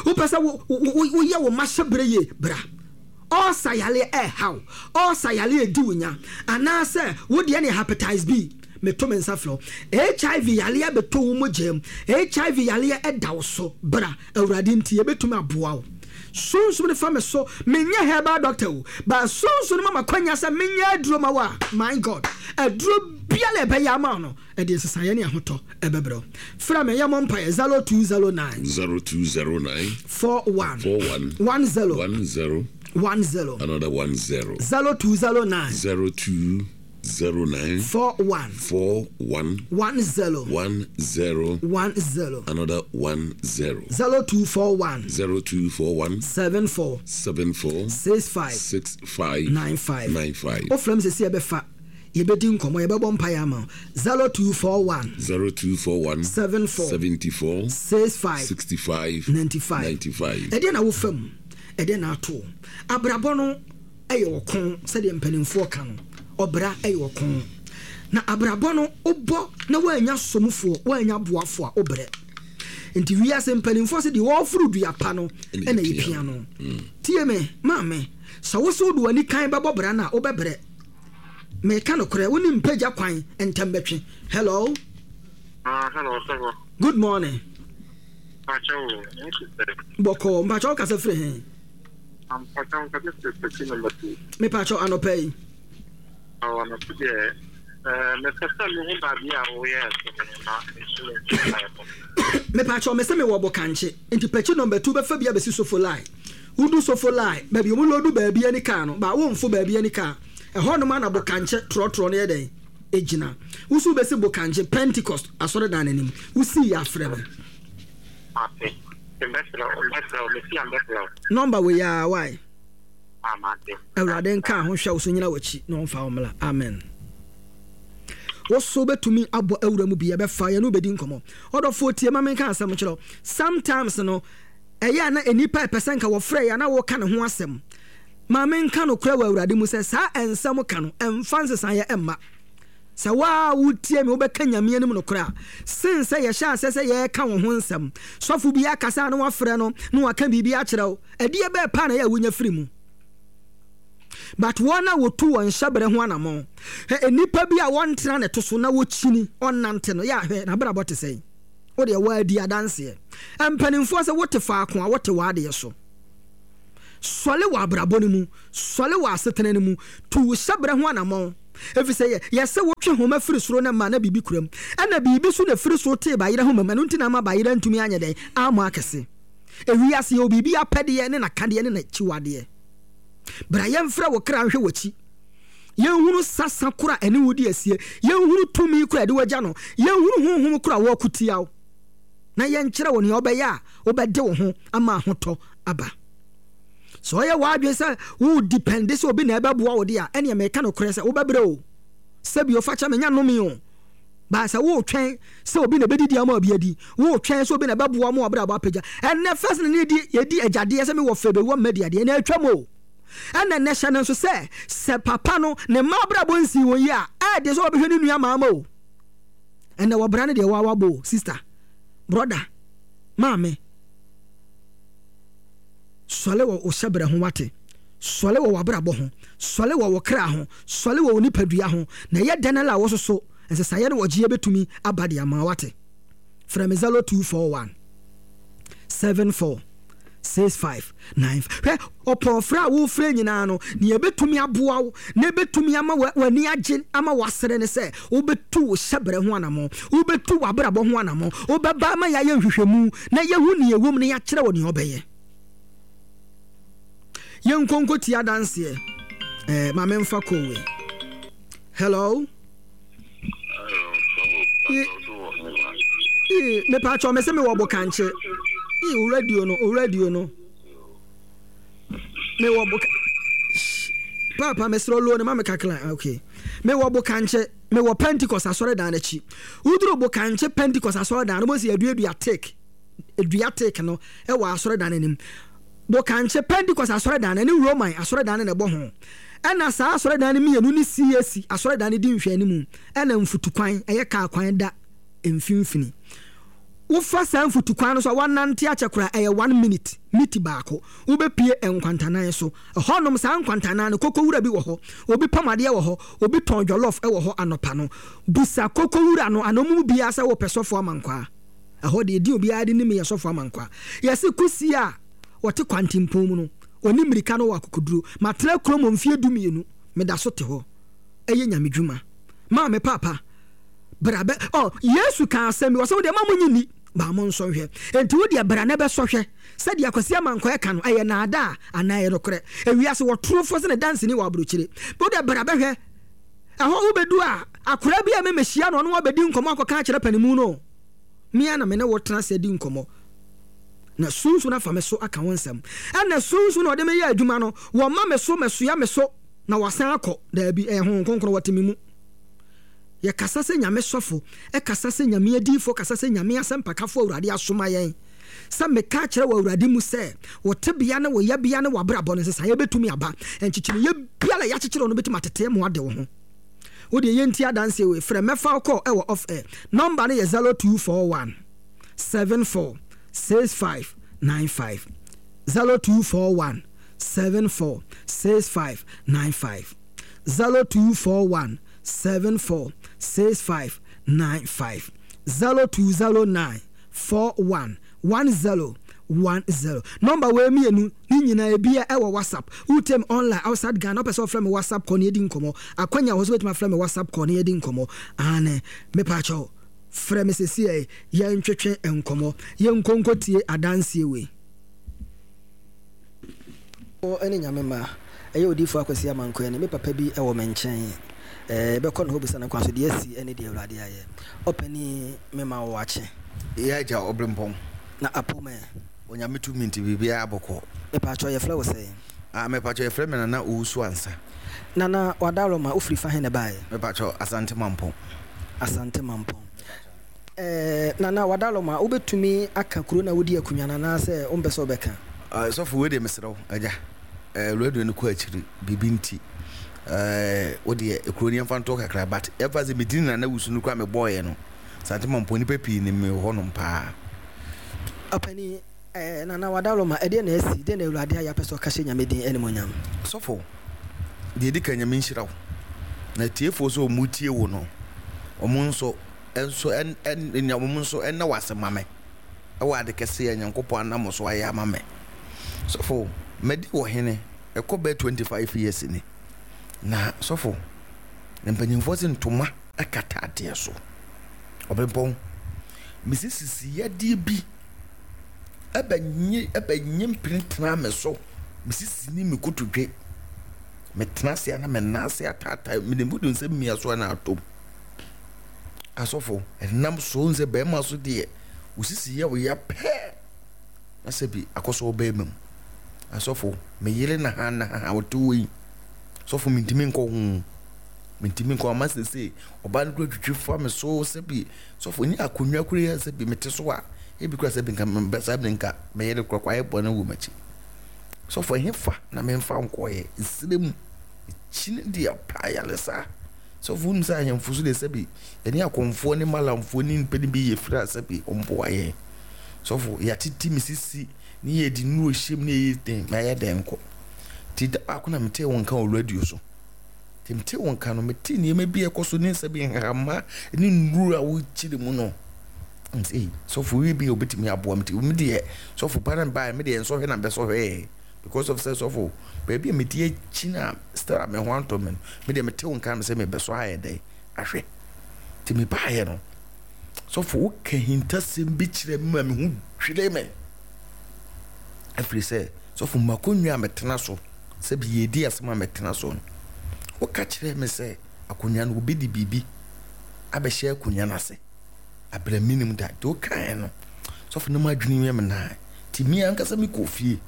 Wopɛ sɛ woyɛ wo ma hyɛbrɛ yie, bra. Ɔɔsa yaleɛ ɛɛhaw, ɔɔsa yaleɛ edi wo nya, anaasɛ wo deɛ ne hepatitis B. Meto me nsa frɛ wo. H I V yaleɛ bɛtɔ wo mogya mu. H I V yaleɛ ɛda wo so, bra. Awurade nti yɛbɛtumi aboa wo. Sunsum ne fa me so, menyɛ herbal doctor o, but sunsum ne mama kwanya sɛ menyɛ aduro ma wo a, my God, aduro biara ɛbɛyɛ ama wo no, ɛde nsesaeɛ ne ahotɔ ɛbɛbrɛ wo. Frɛ me, yɛmmɔ mpaeɛ zero two zero nine zero two zero nine four one four one one zero one zero one zero another one zero zero two zero nine zero two zero nine four one four one one zero one zero one zero another one zero zero two four one zero two four one seven four seven four six five six five nine five nine five. Ofrɛ me sɛ yɛbɛfa yɛbɛdi nkɔmmɔ yɛbɛbɔ mpaeɛ ama wo zero two four one zero two four one seven four seventy four six five sixty five ninety five ninety five. Ɛdeɛ na wofa mu, ɛdeɛ na ato abrabɔ no ɛyɛ ɔko sɛdeɛ mpanimfoɔ ka no, ɔbra ɛyɛ ɔko na abrabɔ no wobɔ na woanya somfoɔ woanya boafoɔ a wobrɛ. Nti wiase mpanimfoɔ sɛ deɛ wɔforo dua pa no ɛna yɛpia no. Tie me maame, sɛ wo so wode w'ani kan bɛbɔ bra no a wobɛbrɛ. Meka nokorɛ, wo ne mpagya kwan ntɛm bɛtwe. Hello. Ah, hello, sir. Good morning. Mpacho, Bɔkɔ, mpacho wo kasa firi he? Mpacho, nkasa firi Pɛkyi number two. Mepacho anɔpa yi. Awo anɔpa deɛ, eh, mepɛ sɛ mehu baabi a woyɛ ɛsɛ na nso Mepacho, mese mewɔ Bokankye. Nti Pɛkyi number two bɛfa bi abɛsi Sofo line. Wodu Sofo line, baabi ɔmo lodu baabi ani kaa no, ba womfo baabi ani kaa. Ɛhɔ nom ana Bokankye trɔtrɔ no yɛ dɛn? Egyina. Wosu bɛsi Bokankye Pentecost asɔredan n'anim. Wosi yɛ afrɛ me. Ate. Mbɛsrɛ wo, mbɛsrɛ wo, mesi a mbɛsrɛ wo. Number wei a why? Amate. Awurade nka ho hwɛ wo so nyina w'akyi na ɔmfa wo mmla. Amen. Wo so bɛtumi abɔ awura mu bi yɛbɛfa yɛne wobɛdi nkɔmmɔ. Ɔdɔfoɔ tie ma menka asɛm kyerɛ wo. Sometimes no ɛyɛ a na nnipa ɛpɛ sɛ nka wɔfrɛ yɛ a na wɔka ne ho asɛm. Ma menka nokorɛ wɔ Awurade mu sɛ saa ɛnsɛm ka no ɛmfa nsesaeɛ ɛmma. Sɛ wo a wotie me wobɛka Nyame anim nokorɛ a, sen sɛ yɛhyɛ aseɛ sɛ yɛreka wo ho nsɛm. Sɔfo bi akasa a na wafrɛ no na waka biribi akyerɛ wo. Ɛdeɛ bɛɛ paa na ɛyɛ a wonya firi mu? But wɔn a wɔtu wɔn hyɛberɛ ho anammɔn, hwɛ nnipa bi a wɔntena ne to so na wɔkyini, ɔnnante no, yɛ a hwɛ n'abrabɔ te sɛn? Wo deɛ woadi adanseɛ. Mpanimfoɔ sɛ wote faako a wote w'adeɛ so. Sɔle wɔ abrabɔ no mu, sɔle wɔ asetena no mu, tu wo hyɛberɛ ho anammɔn. Efisɛ yɛ, yɛse wotwe homa firi soro na ma na biribi kura mu. Ɛna biribi nso na ɛfiri soro tee bayerɛ homa mu, ɛno nti na ama bayerɛ antumi anyɛ dɛn? Ammɔ akɛse. Ewiase yɛwɔ biribi apɛdeɛ ne n'akadeɛ ne n'akyiwadeɛ. Bra yɛmfrɛ wo kra nhwɛ w'akyi. Yɛnhunu sasa koro a ɛne wo di asie. Yɛnhunu tumi koro a ɛde wo agya no. Yɛnhunu honhom koro a wɔreko tia wo. Na yɛnkyerɛ wo nea wobɛyɛ a wobɛde wo ho ama ahotɔ aba. Sɛ ɔyɛ w'adwene sɛ wo depende sɛ obi na ɛbɛboa wo de a, ɛneɛ meka nokorɛ sɛ wobɛbrɛ o. Sɛbi o, fakyɛ me, nyɛ nnome o. But sɛ wotwɛn sɛ obi na ɛbɛdidi ama obi adi, wotwɛn sɛ obi na ɛbɛboa ma w'abrabɔ apagya. Ɛnnɛ first na ne yɛdi yɛdi agyadeɛ sɛ mewɔ fɛ bɛwu ama madi adeɛ, ɛnɛ atwam o. Ɛna nnɛ hyɛ no nso sɛ sɛ papa no ne mma abrabɔ nsii wɔn yie a, ɛyɛ den sɛ ɔbɛhwɛ ne nua maa ma o. Ɛnɛ wɔbra no deɛ waa wabɔ o, sister, brother, maame. Sɔle wɔ wo hyɛbrɛ ho wate. Sɔle wɔ w'abrabɔ ho. Sɔle wɔ wo kra ho. Sɔle wɔ wo nipadua ho. Na ɛyɛ dɛn ara a wososo nsesaeɛ ne ɔgyeɛ bɛtumi aba de ama wo wate. Frɛ me zero two four one seven four six five nine five. Hwɛ, ɔpɔn frɛ a wofrɛ nyinaa no, nea ɛbɛtumi aboa wo na ɛbɛtumi ama w'ani agye ama w'asere ne sɛ wobɛtu wo hyɛbrɛ ho anammɔn, wobɛtu w'abrabɔ ho anammɔn, wobɛba ama yɛayɛ nhwehwɛmu na yɛahu nea ɛwom na yɛakyerɛ wo nea wobɛyɛ. Yɛnkɔ nkɔtie adanseɛ. Eh, ma memfa kɔɔ wei. Hello? Mepa kyɛw, me se mewɔ bokankye. Ii, wo radio no, wo radio no. Mewɔ boka. Papa, mesrɛ low no ma me kakra. Okay. Mewɔ bokankye. Mewɔ Pentecost asɔredan no akyi. Woduru bokankye Pentecost asɔredan no, wobɛhu sɛ yɛaduadua take. Dua take no wɔ asɔredan no anim. Bokankye Pentecost asɔredan no ne Roman asɔredan no na ɛbɔ ho. Ɛna saa asɔredan no mmienu ne C A C asɔredan no di nhwɛanimu. Ɛna mfutukwan, ɛyɛ kaa kwan da mfimfini. Wofa saa mfutukwan no so a, woanante akyɛ koraa, ɛyɛ one minute, miti baako, wobɛpue nkwantanan so. Ɛhɔnom, saa nkwantanan no, kokowura bi wɔ hɔ, obi pam adeɛ wɔ hɔ, obi tɔn jollof wɔ hɔ anɔpa no. Bisa kokowura no anaa wɔn mu biara sɛ wopɛ sɔfo amankwaa. Ɛhɔ deɛ, edin obiara de nim yɛ sɔfo amankwaa. Yɛse kusie a ɔte kwantempɔn mu no, ɔni mmirika na ɔwɔ akokoduro. Matena kurom mfeɛ du mmienu, meda so te hɔ. Ɛyɛ Nyame dwuma. Maame, paapa, bra bɛ, ɔ, Yesu kaa asɛm bi, ɔsɛ wo deɛ ma mo nyi nni, ba mo nsɔ nhwɛ. Enti wo deɛ bra na bɛsɔ hwɛ. Sɛdeɛ Kwasi Amankwaa ɛka no, ɛyɛ naadaa anaa ɛyɛ nokorɛ? Ewiase wɔtorofoɔ sɛ ne danseni wɔ aburokyire. Wo deɛ bra bɛhwɛ. Ɛhɔ wobɛdu a, akoraa bi a me mehyia no, ɔne wo abɛdi nkɔmmɔ akɔka akyerɛ panimu no. Me ara na me ne wo tena ase adi nkɔmmɔ. Na Sunsum no afa me so aka wo nsɛm. Ɛna Sunsum na ɔde me yɛ adwuma no, wɔma me so, mɛsoa me so, na wasan akɔ. Daabi, ɛyɛ Honhom Kronkron, wɔte me mu. Yɛkasa sɛ Nyame sɔfo, ɛkasa sɛ Nyame adiyifoɔ, kasa sɛ Nyame asɛmpakafoɔ Awurade asoma yɛn sɛ meka akyerɛ wɔ Awurade mu sɛ wo tebea ne wo yɛbea ne w'abrabɔ no nsesaeɛ bɛtumi aba. Nkyekyereeɛ biara a yɛakyekyere wo no bɛtumi atetee mo ade wo ho. Wo deɛ yɛntie adanseɛ wei. Frɛ mɛfa wo call ɛwɔ off air. Number no yɛ zero two four one seven four six five nine five zero two four one seven four six five nine five zero two four one seven four six five nine five zero two zero nine four one one zero one zero. Number wei mmienu ne nyinaa ebia ɛwɔ WhatsApp. Wotie me online outside Ghana, wopɛ sɛ wɔfrɛ me WhatsApp call na yɛdi nkɔmmɔ. Akwanya wɔ hɔ sɛ wobɛtumi afrɛ me WhatsApp call na yɛdi nkɔmmɔ. Aane, mepaakyɛw, frɛ me sesiei yɛntwetwe nkɔmmɔ. Yɛnkɔ nkɔtie adanseɛ wei. Wo ne Nyame mma. Ɛyɛ Odiyifoɔ Akwasi Amankwaa ni. Me papa bi wɔ me nkyɛn. Ɛɛ, yɛbɛkɔ ne hɔ bisa no kwan so deɛ asi ne deɛ Awurade ayɛ. Ɔpanin, mema wo akye. Yɛ agya Ɔbrempɔn. Na apom ɛ? Onyame tumi nti biribiara bɔkɔɔ. Mepakyɛw yɛfrɛ wo sɛn? Ah, mepakyɛw yɛfrɛ me Nana Owusu Ansah. Nana, Wadaroma, wofiri fa he na ɛbaeɛ? Mepakyɛw, Asante Mampɔn. Asante Mampɔn. Eh, Nana Wadaroma, wobɛtumi aka kuro no a wodi akunnwa no anaasɛ wompɛ sɛ wobɛka? Ah, sɔfo, wei deɛ mesrɛ wo, agya, eh, radio no kɔ akyiri, biribi nti. Ɛɛ wo deɛ ekuro ni yɛmfa nto kakra, but ɛfa sɛ medin Nana Wusu no kora mebɔɔyɛ no, Asante Mampɔn nipa pii ne me hɔnom paa. Ɔpani ɛɛ Nana Wadaloma, ɛdeɛ na asi deɛ na Awurade ayɛ apɛ sɛ ɔka hyɛ Nyame din animonyam? Sɔfo, deɛ ɛdi kan, Nyame nhyira wo, na tiefoɔ sɛ ɔmu tie wo no, ɔmo nso nso ɛn ɛn ɔmo nso ɛnna wɔ ase ma me ɛwɔ ade kɛseɛ a Nyankopɔn anam so ayɛ ama me. Sɔfo, madi wɔ hene ɛkɔ bɛɛ twenty five years ni, na sɔfo, mpanyinfoɔ sɛ ntoma ɛkata adeɛ so. Ɔbɛnpɔn mesisisi yadeɛ bi ɛbɛnye ɛbɛnye mpene tena me so, mesisi ne me kotodwe, metena ase a na me nan ase ataataa, mede mu de nsɛm mmia so a na atom. Asɔfo, ɛnam so sɛ bɛrima so deɛ osisi yɛ wo ya pɛɛ na sɛ bi akɔsɔ bɛrima mu. Asɔfo, me yere na ha na ha ɔte wɔ yi, sɔfo, mentumi nkɔ ho, mentumi nkɔ ama sese ɔbaa no kura twitwi fa me so. Sɛ bi sɔfo, nye akonnwa kura yɛ sɛ bi mete so a, ebi kura sɛ bi nka mbɛ saa bi nka me yere kura kɔ ayɛ bɔne wɔ m'akyi. Sɔfo, ɛhe fa na memfa nkɔɔyɛ nsire mu kyini deɛ pa ayaresa? Sɔfo, wonim sɛ ahemfo so deɛ, sɛ bi yɛne akɔmfoɔ ne malamfoɔ ne nipa no bi yɛ firi a, sɛ bi ɔmboa yɛn. Sɔfo, yɛatete me sisi ne yɛde nnuro hyɛm ne yɛyɛ den na yɛ den kɔ. Nti da baako na metee wo nka wɔ radio so. Nti metee wo nka no, metee nneɛma bi a ɛkɔ so ne nsa bi nhama ne nnuro a wokyere mu no. Nti sɔfo, wie bi a obɛtumi aboa me. Nti me deɛ, sɔfo, ba no baeɛ, me deɛ nsɔhwɛ na mbɛsɔhwɛɛ, because of sɛ sɔfo, baabi a mete akyi na still a me ho antɔ me no, me deɛ mete wo nka me sɛ mebɛsɔ ayɛ dɛn ahwɛ. Nti mebaeɛ no, sɔfo, woka hintasɛm bi kyerɛ me ma me ho dwire me, ɛfiri sɛ sɔfo, makonnwa a metena so sɛ bi yɛdi asɛm a metena so no, woka kyerɛ me sɛ akonnwa no, obi de biribi abɛhyɛ akonnwa no ase abrɛ minim da. Nti wokaeɛ no, sɔfo, no mu adwene yɛ me naa. Nti me ankasa mekɔ fie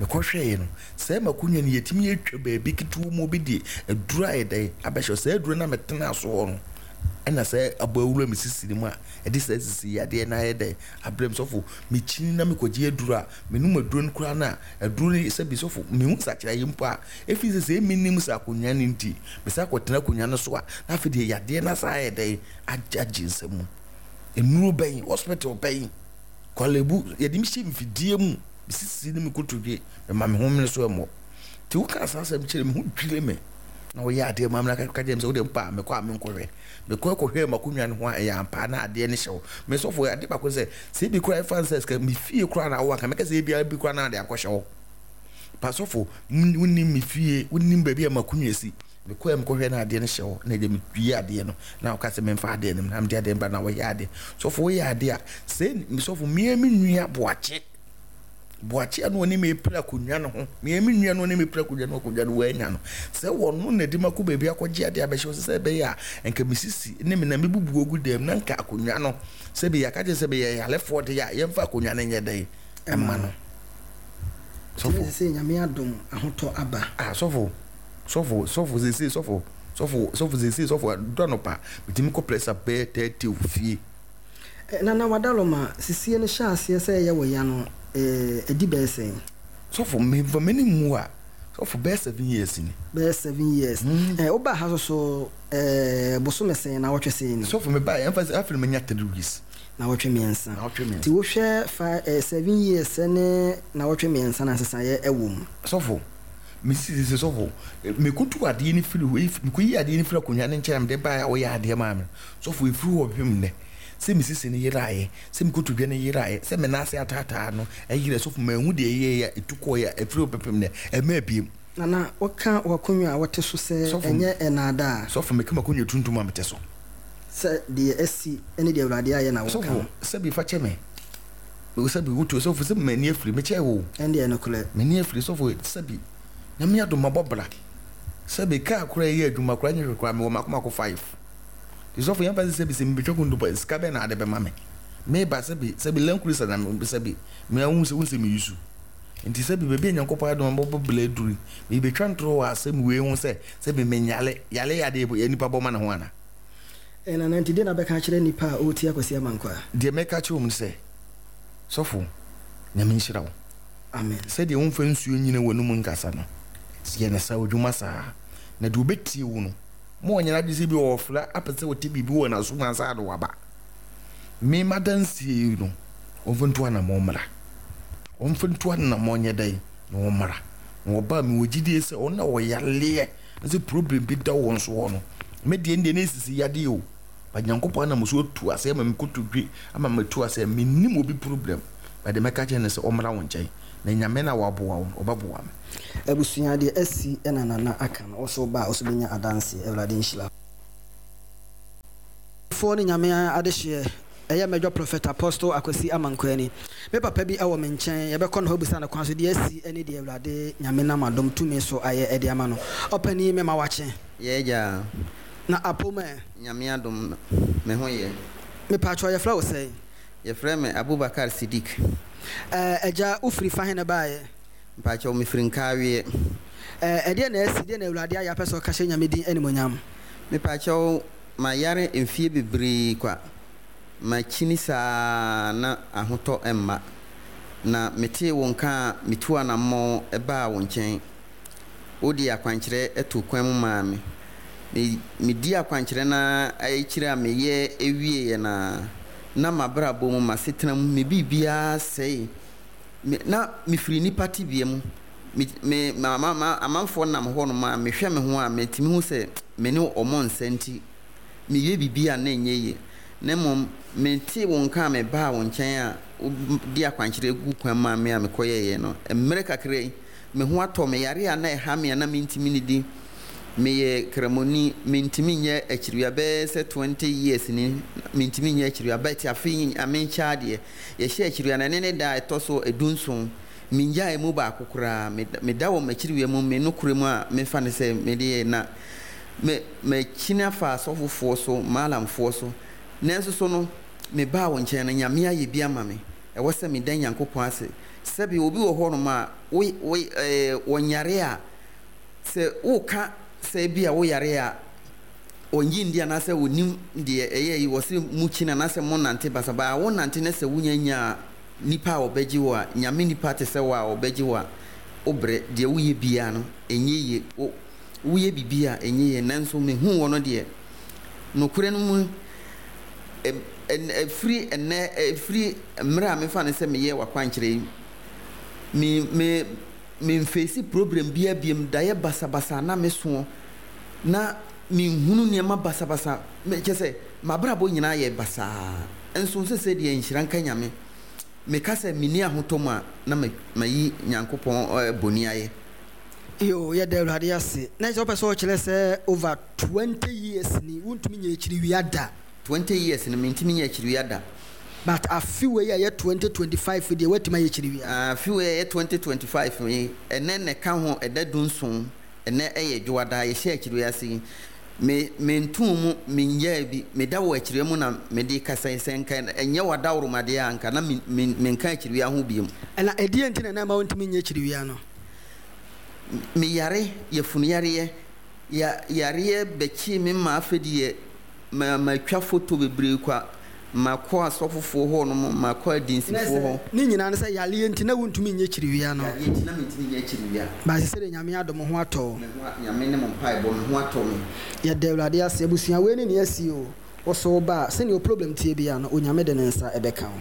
mekɔhwɛeɛ no, sɛ makonnwa no yɛtumi atwa baabi ketewa mu, obi de aduro ayɛ dɛn abɛhyɛ saa aduro no a metena so hɔ no, ɛna sɛ abɔ awura me sisi no mu a ɛde saa sisi yadeɛ no ayɛ dɛn abrɛ me. Sɔfo, mekyini na mekɔgye aduro a menom aduro no koraa no a, aduro no sɛ bi sɔfo, mehu nsakyerɛeɛ mpo a ɛfiri sɛ sɛ menim sɛ akonnwa no nti mesa akɔtena akonnwa no so a, na afei deɛ yadeɛ no asa ayɛ dɛn agye agye nsɛm mu. Nnuro bɛn, hospital bɛn, Korle Bu, yɛde me hyɛ mfidie mu, mesisi ne me kotodwe, mema me ho mene so ɛmmɔ. Nti woka saa asɛm kyerɛ me ho dwire me, na woyɛ adeɛ ma me na ka kyerɛ me sɛ wode mpa a mekɔ a menkɔhwɛ. Mekɔ kɔhwɛ m'akonnwa no ho a, ɛyɛ ampa na adeɛ no hyɛ wo me. Sɔfo, ade baako sɛ sɛ ebi koraa ɛfa sɛ sika me fie koraa na wowɔ anka mɛka sɛ ebi bi koraa na ade akɔhyɛ wo pa. Sɔfo, wonim me fie, wonim baabi a m'akonnwa si. Mekɔ mekɔhwɛ na adeɛ no hyɛ hɔ, na ɛdeɛ metwie adeɛ no na woka sɛ memfa adeɛ no na mede adeɛ no ba na wɔyɛ adeɛ. Sɔfo, woyɛ adeɛ a sɛ sɔfo, mmea me nua Boakye, Boakye a na ɔne me pere akonnwa no ho, mmea me nua no ɔne me pere akonnwa no, akonnwa no wɔanya no sɛ wɔno na de ma kɔ baabi akɔgye adeɛ abɛhyɛ hɔ sɛ ɛbɛyɛ a nka mesisi ne me na mebubu ogu dɛm na nka akonnwa no sɛ bi yɛaka kyerɛ sɛ bɛyɛ yalefoɔ de a yɛmfa akonnwa no nyɛ dɛn ɛma no. Sɔfo, sɛ Nyame adom, ahotɔ aba. Ah, sɔfo, sɔfo, sɔfo, sese sɔfo, sɔfo, sɔfo, sese sɔfo, dɔ no pa metumi kɔ press up bɛyɛ thirty wɔ fie. Nana Wadaloma, sisie no hyɛ aseɛ sɛ ɛyɛ wɔ ya no, ɛdi bɛyɛ sɛn? Sɔfo, memfa m'ani mu a, sɔfo, bɛyɛ seven years ni. Bɛyɛ seven years. Ɛɛ wobaa ha so so ɛɛ bosome sɛn na wɔtwe sɛn ni? Sɔfo, mebaa yɛmfa sɛ afei manya three weeks. Na wɔtwe mmiɛnsa. Na wɔtwe mmiɛnsa. Nti wohwɛ fa ɛɛ seven years ne na wɔtwe mmiɛnsa na nsesaeɛ ɛwɔ mu? Sɔfo, mesi sɛ sɔfo, mekutu adeɛ no firi hɔ, mekɔyi adeɛ no firi akonnwa no nkyɛn a mede baeɛ a wɔyɛ adeɛ maa me. Sɔfo, ɛfiri hɔ hwem nnɛ sɛ mesisi no yeraeɛ, sɛ mekotodwe no yeraeɛ, sɛ me nan ase ataataa no ɛyerɛ. Sɔfo, mahu deɛ ɛyɛeɛ a ɛtu kɔeɛ a ɛfiri hɔ pɛpem nnɛ ɛma abiem. Nana, woka w'akonnwa a wɔte so sɛ Sɔfo, ɛnyɛ ɛnaadaa? Sɔfo, meka m'akonnwa tuntum a mete so. Sɛ deɛ asi ne deɛ Awurade ayɛ na wɔka. Sɔfo, sɛbi, fa kyɛ me, sɛbi wotu. Sɔfo, sɛ m'ani afiri mekyɛ wo. Ɛndeɛ nokorɛ. M'ani afiri. Sɔfo, sɛbi, Nyame adom, mabɔ bra. Sɛbi, kaa koraa ɛyɛ adwuma koraa nyɛ hwɛ koraa, mewɔ mako mako five. Nti sɔfo, yɛmfa sɛ sɛbi sɛ mebɛtwa kontompo, sika bɛn na ade bɛma me meba? Sɛbi, sɛbi, Land Cruiser na sɛbi meahu sɛ wohu sɛ meyi so. Nti sɛbi, baabi a Nyankopɔn adom mabɔ bra aduru, mebɛtwa ntorɔ wɔ asɛm wei ho sɛ sɛbi menyale yale yɛ adeɛ yɛ nipa bɔ ma ne ho ana? Nana, nti deɛ na bɛka kyerɛ nipa a ɔretie Akwasi Amankwa? Deɛ mɛka kyerɛ mu sɛ, sɔfo, Nyame nhyira wo. Amen. Sɛdeɛ womfa nsuo nyina w'anum nkasa no, yɛ ne saa odwuma saa. Na deɛ ɔbɛtie wo no, ma ɔnyɛ n'adwene sɛ bi ɔɔfrɛ apɛ sɛ ɔte biribi wɔ n'aso mu ansa na waba. Me m'adanseɛ yi no, ɔmfa ntu anammɔn mmra. Ɔmfa ntu anammɔn nyɛ dɛn na ɔmmra. Na ɔba a, mewɔ gyidie sɛ ɔno na ɔyareɛ na sɛ problem bi da wɔn soɔ no, me deɛ ndeɛ na ɛsisi yadeɛ o. But Nyankopɔn anam so atu aseɛ ama me kotodwe ama matu aseɛ. Mennim obi problem, but deɛ mɛka kyerɛ no sɛ ɔmmra wo nkyɛn. Na Nyame no a waboa wo no, ɔbɛboa me. Abusua deɛ asi na Nana aka no, wo so ba a wo so bɛnya adanseɛ. Awurade nhyira wo. Foɔ ne Nyame adehyeɛ ɛyɛ mɛdwɔ Prophet Apostle Akwasi Amankwani. Me papa bi wɔ me nkyɛn yɛbɛkɔ ne hɔ abisa no kwan so deɛ asi ne deɛ Awurade Nyame nam adom tumi so ayɛ de ama no. Ɔpanin mema wakye. Yɛ agya. Na apom ɛ? Nyame adom me ho yɛ. Mepakyɛw yɛfrɛ wo sɛn? Yɛfrɛ me Abubakar Sidik. Ɛɛ agya wo firi fa he na ɛbaeɛ? Mpakyɛw me firi Nkaaweɛ. Ɛɛ ɛdeɛn na asi, deɛn na Awurade ayɛ apɛ sɛ ɔka hyɛ Nyame din animuonyam? Mepakyɛw mayare mfie bebree kwa, makyini saa na ahotɔ mma. Na metee wo nka a metuu anammɔn baa wo nkyɛn. Wode akwankyerɛ too kwan mu maa me. Me medii akwankyerɛ no ara akyiri a meyɛ wieeɛ no ara, na m'abrabɔ mu, m'asetena mu, me biribiara sɛee. Me na mefiri nnipa tebea mu. Me me ma ma ma amanfoɔ nam hɔnom a, mehwɛ me ho a, metumi hu sɛ me ne wɔn nsɛ nti, meyɛ biribi a na ɛnyɛ yie. Na mmom metee wo nka a mebaa wo nkyɛn a wode akwankyerɛ guu kwan maa me a mekɔyɛeɛ no, mmerɛ kakra yi, me ho atɔ me. Yareɛ a na ɛha me a na mentumi nnidi, meyɛ Kramoni, mentumi nyɛ akyiriwia bɛyɛ sɛ twenty years ni, mentumi nyɛ akyiriwia but afei Nyame nkyɛ adeɛ, yɛhyɛɛ akyiriwia no, ɛne ne da a ɛtɔ so du-nson. Minnyaee mu baako koraa. Meda wɔ m'akyiriwia mu, me nokorɛ mu a mefa no sɛ mede yɛ, na me makyini afa asɔfofoɔ so, Maalamfoɔ so. Nanso so no, mebaa wo nkyɛn no, Nyame ayɛ bi ama me. Ɛwɔ sɛ meda Nyankopɔn ase. Sɛbe obi wɔ hɔnom a, wo, wo, eh, ɔnyare a, sɛ woka sɛ ebia woyare a, ɔnnye nndi anaasɛ ɔnnim deɛ ɛyɛ yi, wɔse mokyini anaasɛ monante basabasa. Wonante na sɛ wonya nyaa Nipa a ɔbɛgye wo a, Nyame nipa te sɛ wo a ɔbɛgye wo a, wo brɛ, deɛ woyɛ biara no, ɛnyɛ yie, wo, woyɛ biribi a ɛnyɛ yie, nanso mehuu wo no deɛ, nokorɛ no mu, ɛ, ɛ, ɛfiri ɛnnɛ, ɛfiri mmerɛ a mefa no sɛ meyɛɛ w'akwankyerɛ yi, me, me, memfeesi problem biara biom, daeɛ basabasa na mesoɔ, na menhunu nneɛma basabasa, me, kyerɛ sɛ, m'abrabɔ nyinaa yɛ basaa. Nso sesei deɛ nhyira nka Nyame, meka sɛ menni ahotɔ mu a na mayi Nyankopɔn boni ayɛ. Yoo yɛda Awurade ase. Na kyerɛ sɛ wopɛ sɛ wokyerɛ sɛ over twenty years ni wontumi nyɛ akyiriwia da? Twenty years no mentumi nyɛ akyiriwia da. But afe wei a ɛyɛ twenty twenty five deɛ woatumi ayɛ akyiriwia? Afe wei a ɛyɛ twenty twenty five yi ɛnɛ na ɛka ho ɛda du nson. Ɛnnɛ yɛ Dwoada, yɛhyɛ akyiriwia ase yi, me, mentoo mu, menyaa bi, meda wɔ akyiriwia mu na mede rekasa yi, sɛ nka ɛnyɛ w'adaworomadeɛ a, anka na me, me, menka akyiriwia ho bio. Ɛna ɛdeɛn nti na na ɛmma wontumi nyɛ akyiriwia no? Meyare, yafunuyareɛ, ya, yareɛ bɛkyee me maa afei deɛ Ma matwa foto bebree kwa. Makɔ asɔfofoɔ hɔ nom, makɔ adinsifoɔ hɔ. Ne nyinaa ne sɛ yareɛ nti na wontumi nyɛ kyiriwia no. Yareɛ nti na mentumi nyɛ kyiriwia. But sesei deɛ Nyame adom wo ho atɔ wo. Me ho a, Nyame ne mo mpaebɔ, me ho atɔ me. Yɛda Awurade ase. Abusua wei ne nea asi o. Wo so wo ba a, sɛnea wo problem teɛ biara no, Onyame de ne nsa bɛka wo.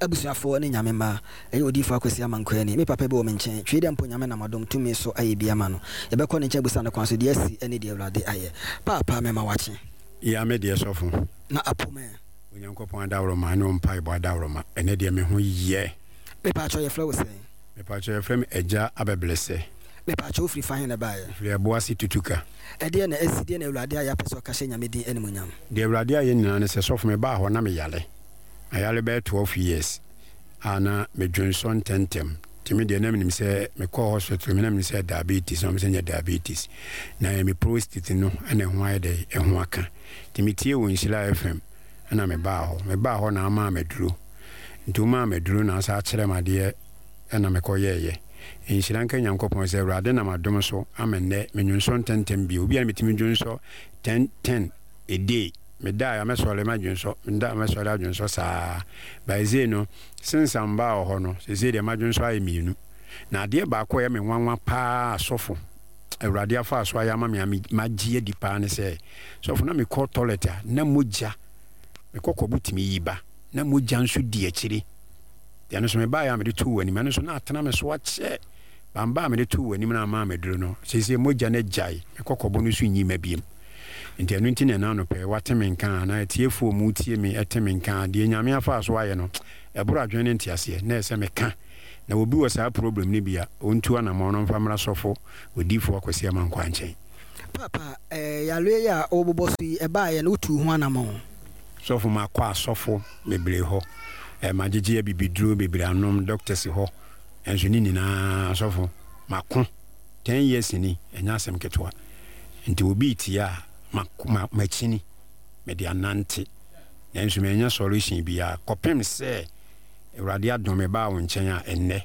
Abusuafoɔ ne Nyame mma, ɛyɛ Odiyifoɔ Akwasi Amankwaa ni, me papa bi wɔ me nkyɛn, twee dɛ mpo Nyame nam adom tumi so ayɛ bi ama no, yɛbɛkɔ ne nkyɛn abusa no kwan so deɛ asi ne deɛ Awurade ayɛ. Paapa mema wakye. Ya me deɛ sɔfo. Na apo me. Onyankopɔn adaworoma ne wo mpaebɔ adaworoma ɛnɛ deɛ me ho yɛ. Mepaakyɛw yɛfrɛ wo sɛn? Mepaakyɛw yɛfrɛ me Agya Abɛbrɛsɛ. Mepaakyɛw wofiri fa he na ɛbaeɛ? Mefiri Ɛboase Tutuka. Ɛdeɛn na asi, deɛn na Awurade ayɛ apɛ sɛ ɔka hyɛ Nyame din animuonyam? Deɛ Awurade ayɛ nyinaa ne sɛ sɔfo mebaa hɔ na meyare. Mayare bɛyɛ twelve years a na medwonsɔ ntɛntɛm nti me deɛ na menim sɛ mekɔɔ hospital me na menim sɛ diabetes na wɔn sɛ nyɛ diabetes na ɛyɛ me prostate no ɛna ɛho ayɛ dɛ ɛho aka nti metie wɔ Nhyira F M ɛna mebaa hɔ mebaa hɔ na amaa maduro nti womaa maduro na asa akyerɛ me adeɛ ɛna mekɔyɛɛyɛ nhyira nka Nyankopɔn sɛ Awurade nam adom so ama nnɛ menwonsɔ ntɛntɛm bio obi a na metumi dwonsɔ ten ten a day Medae a mɛsɔre madwonsɔ, meda a mɛsɔre adwonsɔ saa. By sei no, since a mebaa wɔ hɔ no, seesei deɛ madwonsɔ ayɛ mmienu. Na adeɛ baako a ɛyɛ me nwanwa paa asɔfo, Awurade afa so ayɛ ama me a magye adi paa ne sɛ, sɔfo, na mekɔ toilet a na mogya, mekɔ kɔbo tumi yi ba na mogya nso di akyire. Deɛ no so mebaeɛ a mede too w'anim, ɛno nso na atena me so akyɛ. Bamba a mede too w'anim no ama meduro no, seesei mogya no agyae, mekɔ kɔbo no so nyi ma biem. Nti ɛno nti na ɛna anɔpɛ wate me nka anaa atiefoɔ mu tie me ɛte me nka. Deɛ Nyame afa so ayɛ no, ɛboro adwene ne nteaseɛ, na ɛsɛ meka. Na obi wɔ saa problem no bi a, ɔntu anammɔn no mfa mmra sɔfo odiyifoɔ Akwasi Amankwaa nkyɛn. Papa, eh, yareɛ yi a wobobɔ so yi, ɛbaeɛ no, wotuu ho anammɔn? Sɔfo, makɔ asɔfo bebree hɔ, eh, magyegye abibiduro bebree anom, doctors hɔ, nso ne nyinaa sɔfo, mako ten years ni, ɛnyɛ asɛm ketewa. Nti obi tie a, makyini, mede anante, nanso manya solution biara kɔpem sɛ Awurade adom me baa wo nkyɛn a ɛnnɛ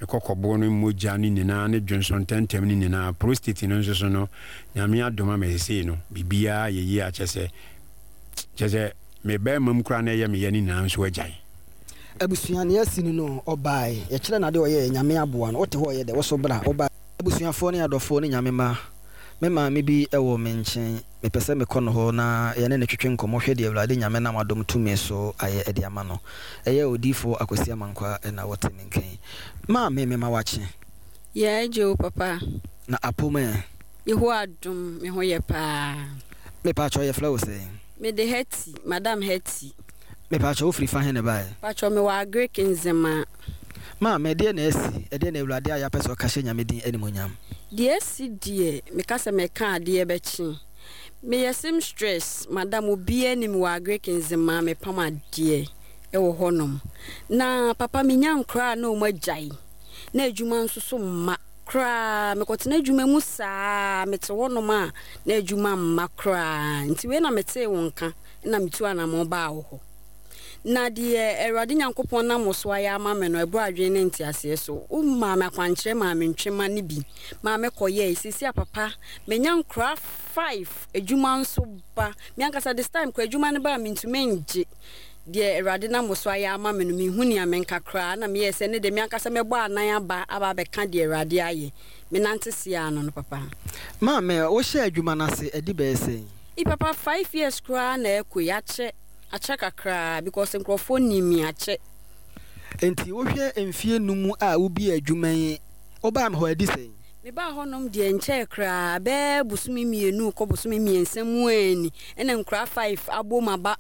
mekɔ kɔboɔ no mogya no nyinaa ne dwonso ntɛntɛm no nyinaa, prostate no nso so no, Nyame adom ama seesei no biribiara yɛ yie a kyɛ sɛ kyɛ sɛ me bɛrima mu koraa na ɛyɛ meyɛ no nyinaa nso agyae. Abusua nea asi no no ɔbae yɛkyerɛ no ade ɔyɛɛ Nyame aboa no wote hɔ ɔyɛ dɛ woso bra wobae. Abusuafoɔ ne adɔfoɔ ne Nyame mma, me maame bi wɔ me nkyen, mepɛ sɛ mekɔ no hɔ na yɛne no twetwe nkɔmmɔ hwɛ deɛ Awurade Nyame nam adom tumi so ayɛ de ama no. Ɛyɛ Odiyifoɔ Akwasi Amankwaa na wɔte me nka yi. Maame, mema wakye. Yɛ agye o papa. Na apom ɛ? Yehowa adom, me ho yɛ paa. Mepaakyɛw yɛfrɛ wo sɛn? Mede Hetty, Madam Hetty. Mepaakyɛw wofiri fa he na ɛbaeɛ? Paakyɛw mewɔ Agric Nzemaa. Maame, ɛdeɛn na asi? Ɛdeɛn na Awurade ayɛ apɛ sɛ ɔka hyɛ Nyame din animuonyam? Deɛ asi deɛ, meka sɛ mɛka adeɛ bɛkye. Meyɛ seamstress, madam obiara nim wɔ Agric Nzemaa, mepam adeɛ wɔ hɔnom. Na papa menya nkoraa na wɔn agyae, na adwuma nso so mma koraa. Mekɔtena adwuma mu saa, mete hɔnom a na adwuma mma koraa. Nti wei na metee wo nka na metu anammɔn baa wo hɔ. Na deɛ Awurade Nyankopɔn nam wo so ayɛ ama me no, ɛboro adwene ne nteaseɛ so. Womaa me akwankyerɛ maa me ntwema no bi maa mekɔyɛe. Seesei a papa, manya nkoraa five, adwuma nso ba. Me ankasa this time koraa adwuma no ba a mentumi ngye. Deɛ Awurade nam wo so ayɛ ama me no, menhu nea menka koraa. Na meyɛɛ sɛ ne deɛ me ankasa mɛbɔ anan aba aba abɛka deɛ Awurade ayɛ. Menante seaa no no papa. Maame, wohyɛɛ adwuma no ase adi bɛyɛ sɛn? I papa, five years koraa na ɛkɔ yi, akyɛ. Akyɛ kakraa because nkurɔfoɔ nim me akyɛ. Enti wohwɛ mfeɛ num a wobiee adwuma yi, wobaa me hɔ adi sɛn? Mebaa hɔnom deɛ nkyɛɛ koraa, bɛyɛ bosome mmienu rekɔ bosome mmiɛnsa mu ara ni, ɛna nkuraa five abom aba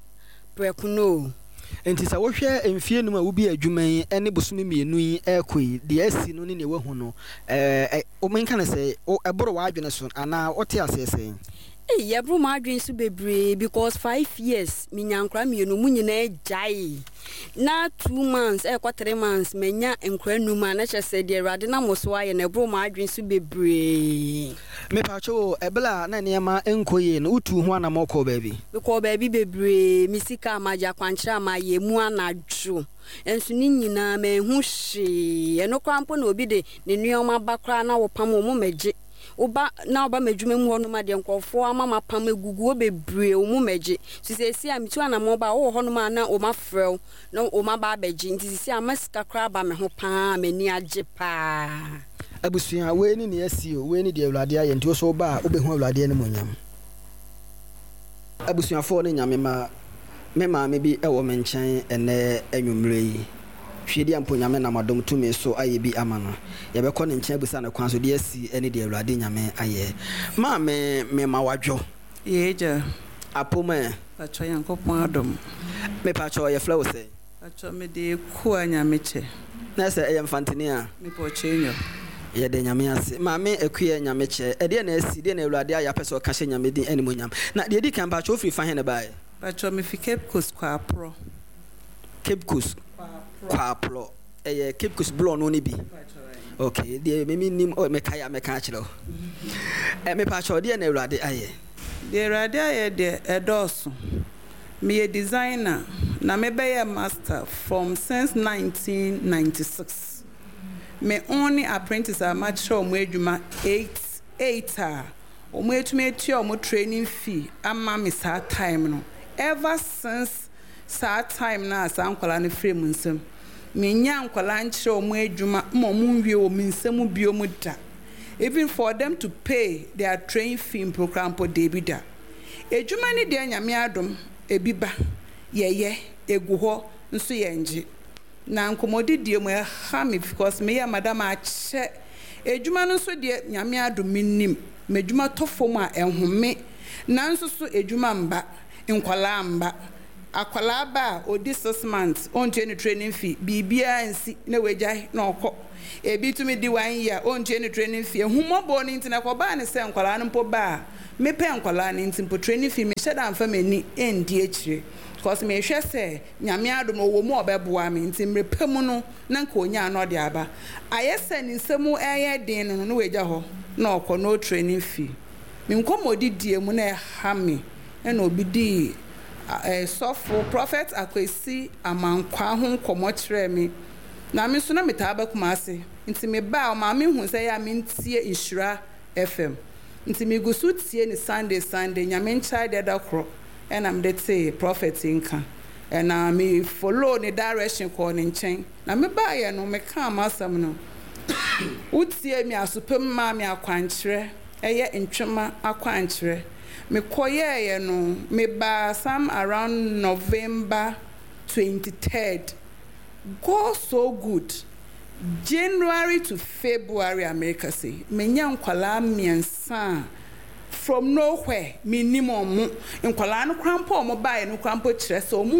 prɛko no o. Enti sɛ wohwɛ mfeɛ num a wobiee adwuma yi ne bosome mmienu yi rekɔ yi, deɛ asi no ne deɛ woahu no, ɛɛ, menka no sɛ, ɛboro w'adwene so anaa wote aseɛ sɛn? Ei ɛboro m'adwene so bebree because five years menya nkora mmienu ɔmo nyinaa gyae na two months ɛkɔ three months manya nkora num a na kyerɛ sɛ deɛ Awurade nam so ayɛ no ɛboro m'adwene so bebree. Mepatwo o, ɛberɛ a na nneɛma nkɔ yie no wotuu ho anamɔ kɔɔ baabi? Mekɔɔ baabi bebree, me sika a magye, akwankyerɛ a mayɛ, emu anadwo nso ne nyinaa manhu hwee, ɛno koraa mpo na obi de ne nneɛma ba koraa na wopam wɔn mmɛgye. Woba na woba m'adwuma mu hɔnom a, deɛ nkurɔfoɔ ama m'apam agugu hɔ bebree, wɔn mmɛgye. Nti seesei a metu anammɔn ba a, wowɔ hɔnom a na wɔafrɛ wo na wɔaba abɛgye. Nti seesei ama sika koraa aba me ho pa ara, m'ani agye pa ara. Abusua, wei ne nea asi o, wei ne deɛ Awurade ayɛ, nti wo nso woba a, wobɛhu Awurade animuonyam. Abusuafoɔ ne Nyame mma, me maame bi wɔ me nkyɛn ɛnnɛ anwummerɛ yi. Hwɛ mpo Nyame nam adom tumi so ayɛ bi ama no. Yɛbɛkɔ ne nkyɛn abusa no kwan so deɛ asi ne deɛ Awurade Nyame ayɛ. Maame, mema wadwo. Yɛ agya. Apom ɛ? Patwɔ Nyankopɔn adom. Mepatwɔ yɛfrɛ wo sɛn? Patwɔ mede Ekua Nyamekyɛ. Na sɛ ɛyɛ Mfantini a? Mepɔkyɛ nyo. Yɛde Nyame ase. Maame Ekua Nyamekyɛ, ɛdeɛ na asi, deɛ na Awurade ayɛ apɛ sɛ ɔka hyɛ Nyame din animuonyam. Na deɛ ɛdi kan patwɔ wofiri fa he na ɛbaeɛ? Patwɔ mefi Cape Coast Kwaporɔ. Cape Coast Kwaporɔ. Ɛyɛ Cape Coast blɔ no ne bi. Okay, deɛ memi nim, oh, mekae a mɛka akyerɛ wo. Ɛ mepatwɔ deɛ na Awurade ayɛ? Deɛ Awurade ayɛ deɛ ɛdɔɔso. Meyɛ designer na mebɛyɛ master from since nineteen ninety-six. Me only apprentice a makyerɛ wɔn adwuma eight, eight a wɔn atumi atua wɔn training fee ama me saa time no. Ever since saa time na saa nkwadaa no firi mu nsam. Menya nkwadaa nkyerɛ wɔn adwuma ma wɔn nwie wɔ me nsam bio mu da. Even for them to pay their train fee mpo koraa mpo deebi da. Edwuma ne deɛ Nyame adom ebi ba yɛyɛ egu hɔ nso yɛngye. Na nkɔmmɔdidie mu ɛha me because meyɛ madam akyɛ. Edwuma no nso deɛ Nyame adom mennim. M'edwuma tɔ fam a ɛnhome. Nanso so edwuma mba, nkwadaa mba. Akwadaa ba a odi six months ɔntua ne training fee, biribiara nsi na wagyae na ɔkɔ. Ebi tumi di one year ɔntua ne training fee. Ehummɔbɔ no nti na ɛkɔbaa ne sɛ nkwadaa no mpo ba a mepɛ nkwadaa no nti mpo training fee mehyɛ da mfa m'ani ndi akyire. Because mehwɛ sɛ Nyame adom ɔwɔ mu a ɔbɛboa me nti mmerɛ pa mu no na nka onyaa na ɔde aba. Ayɛ sɛ ne nsam ɛyɛ den no no na wagya hɔ na ɔkɔ no training fee. Me nkɔmmɔdidie mu na ɛha me ɛna obi dii sɔfo Prophet Akwesi Amankwa ho nkɔmmɔ kyerɛɛ me. Na me nso na metaa ba Kumase. Nti mebaa ɔmaa me hu sɛ ɛyɛ a mentie Nhyira F M. Nti megu so tie ne Sunday Sunday Nyame nkyɛe deɛ da korɔ ɛna mede tee Prophet nka. Ɛna me follow ne direction kɔɔ ne nkyɛn. Na mebaeɛ no mekaa m'asɛm no. Wotie me asopem maa me akwankyerɛ, ɛyɛ ntwema akwankyerɛ. Mekɔyɛeɛ no mebaa some around November twenty-third. God so good. January to February America say menya nkwalaa mmiɛnsa from nowhere minim ɔmo nkwalaa no krampo ɔmo bae no krampo kyerɛ sɛ ɔmo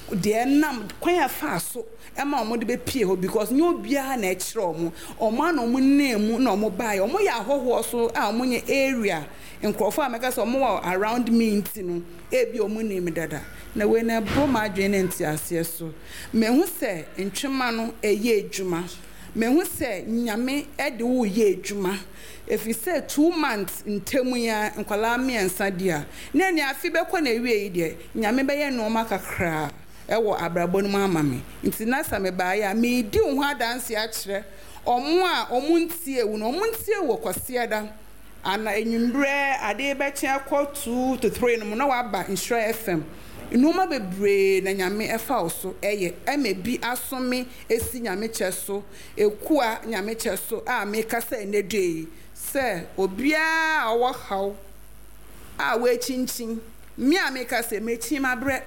hu deɛ nam kwan afa so ɛma ɔmo de bepie hɔ because nye obiara na ɛkyerɛ ɔmo ɔmo ana ɔmo name na ɔmo bae ɔmo yɛ ahɔhoɔ so a ɔmo nye area nkurɔfoɔ a mɛka sɛ ɔmo wɔ around me nti no ebi ɔmo nim dada na wei na ɛbɔ m'adwene ne nteaseɛ so mehu sɛ ntwema no ɛyɛ adwuma mehu sɛ Nyame ɛde wo yɛ adwuma if you say two months ntɛmu ya nkwalaa mmiɛnsa di a na ne afi bɛkɔ na ewie yi deɛ Nyame bɛyɛ nneɛma kakra ɛwɔ abrabɔ no mu ama me nti na sɛ mebaeɛ a meedi wo ho adanse akyerɛ ɔmo a ɔmo ntie wo no ɔmo ntie wɔ Kwasiada ana enwumbrɛ ade bɛkyɛ akɔ two to three no mu na waba Nhyira F M nneɛma bebree na Nyame ɛfa wo so ɛyɛ ɛma bi asome esi Nyame kyɛ so ekua Nyame kyɛ so a meka sɛ ɛnɛ dwe yi sɛ obiara a ɔwɔ haw a wɔakyinkyin me a meka sɛ mekyin mabrɛ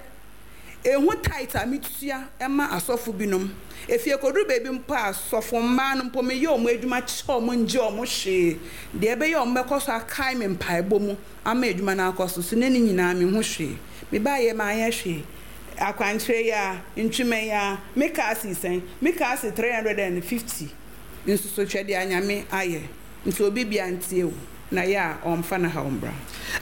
ehu tight a metua ɛma asɔfo binom efie kodu baabi mpo a asɔfo mmaa no mpo meyɛ ɔmo adwuma kyɛ ɔmo ngye ɔmo hwee deɛ ɛbɛyɛ ɔmo bɛkɔ so akae me mpaebɔ mu ama adwuma no akɔ so so ne ne nyinaa me ho hwee mebaayɛ maanyɛ hwee akwankyerɛ yi a ntwema yi a meka ase sɛn meka ase three hundred and fifty nso so twɛ deɛ Anyame ayɛ nti obi bia ntie wo na yɛ a ɔmfa na ha ɔmbra.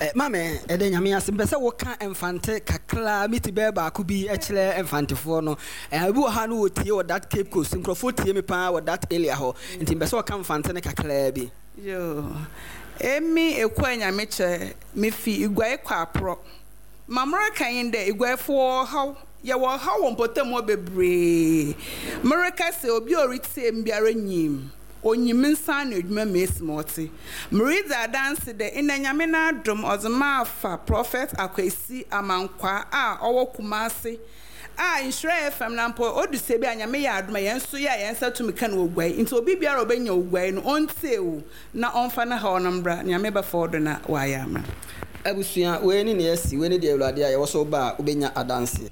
Eh, mame ɛdɛ Nyame ase mpɛ sɛ woka mfante kakra meti bɛɛ baako bi kyerɛ mfantefoɔ no. Eh, obi wɔ ha no wɔtie wɔ that Cape Coast nkurɔfoɔ tie me paa wɔ that area hɔ nti mpɛ sɛ wɔka mfante no kakra bi. Yo, emi ekua Nyame kyɛ mefi Iguae kɔ aporɔ. Mamora kan yi dɛ Iguaefoɔ haw yɛwɔ haw wɔ mpɔtam hɔ bebree. Mereka sɛ obi a ɔretie m biara nyim onyim nsa na adwuma ma esi ma ɔte. Meredzi adanse dɛ ndɛ Nyame n'adom ɔdze ma afa Prophet Akwesi Amankwa a ɔwɔ Kumase a Nhyira F M na mpo odu sɛ bi a Nyame yɛ adom a yɛn nso yɛ a yɛn nsa tumi ka no wɔ guai nti obi biara a ɔbɛnya oguai no ɔntie o na ɔmfa ne haw no mbra Nyame bɛfa ɔdo na wayɛ ama. Abusua wei ne nea asi wei ne deɛ Awurade a yɛwɔ so ba a wobɛnya adanse.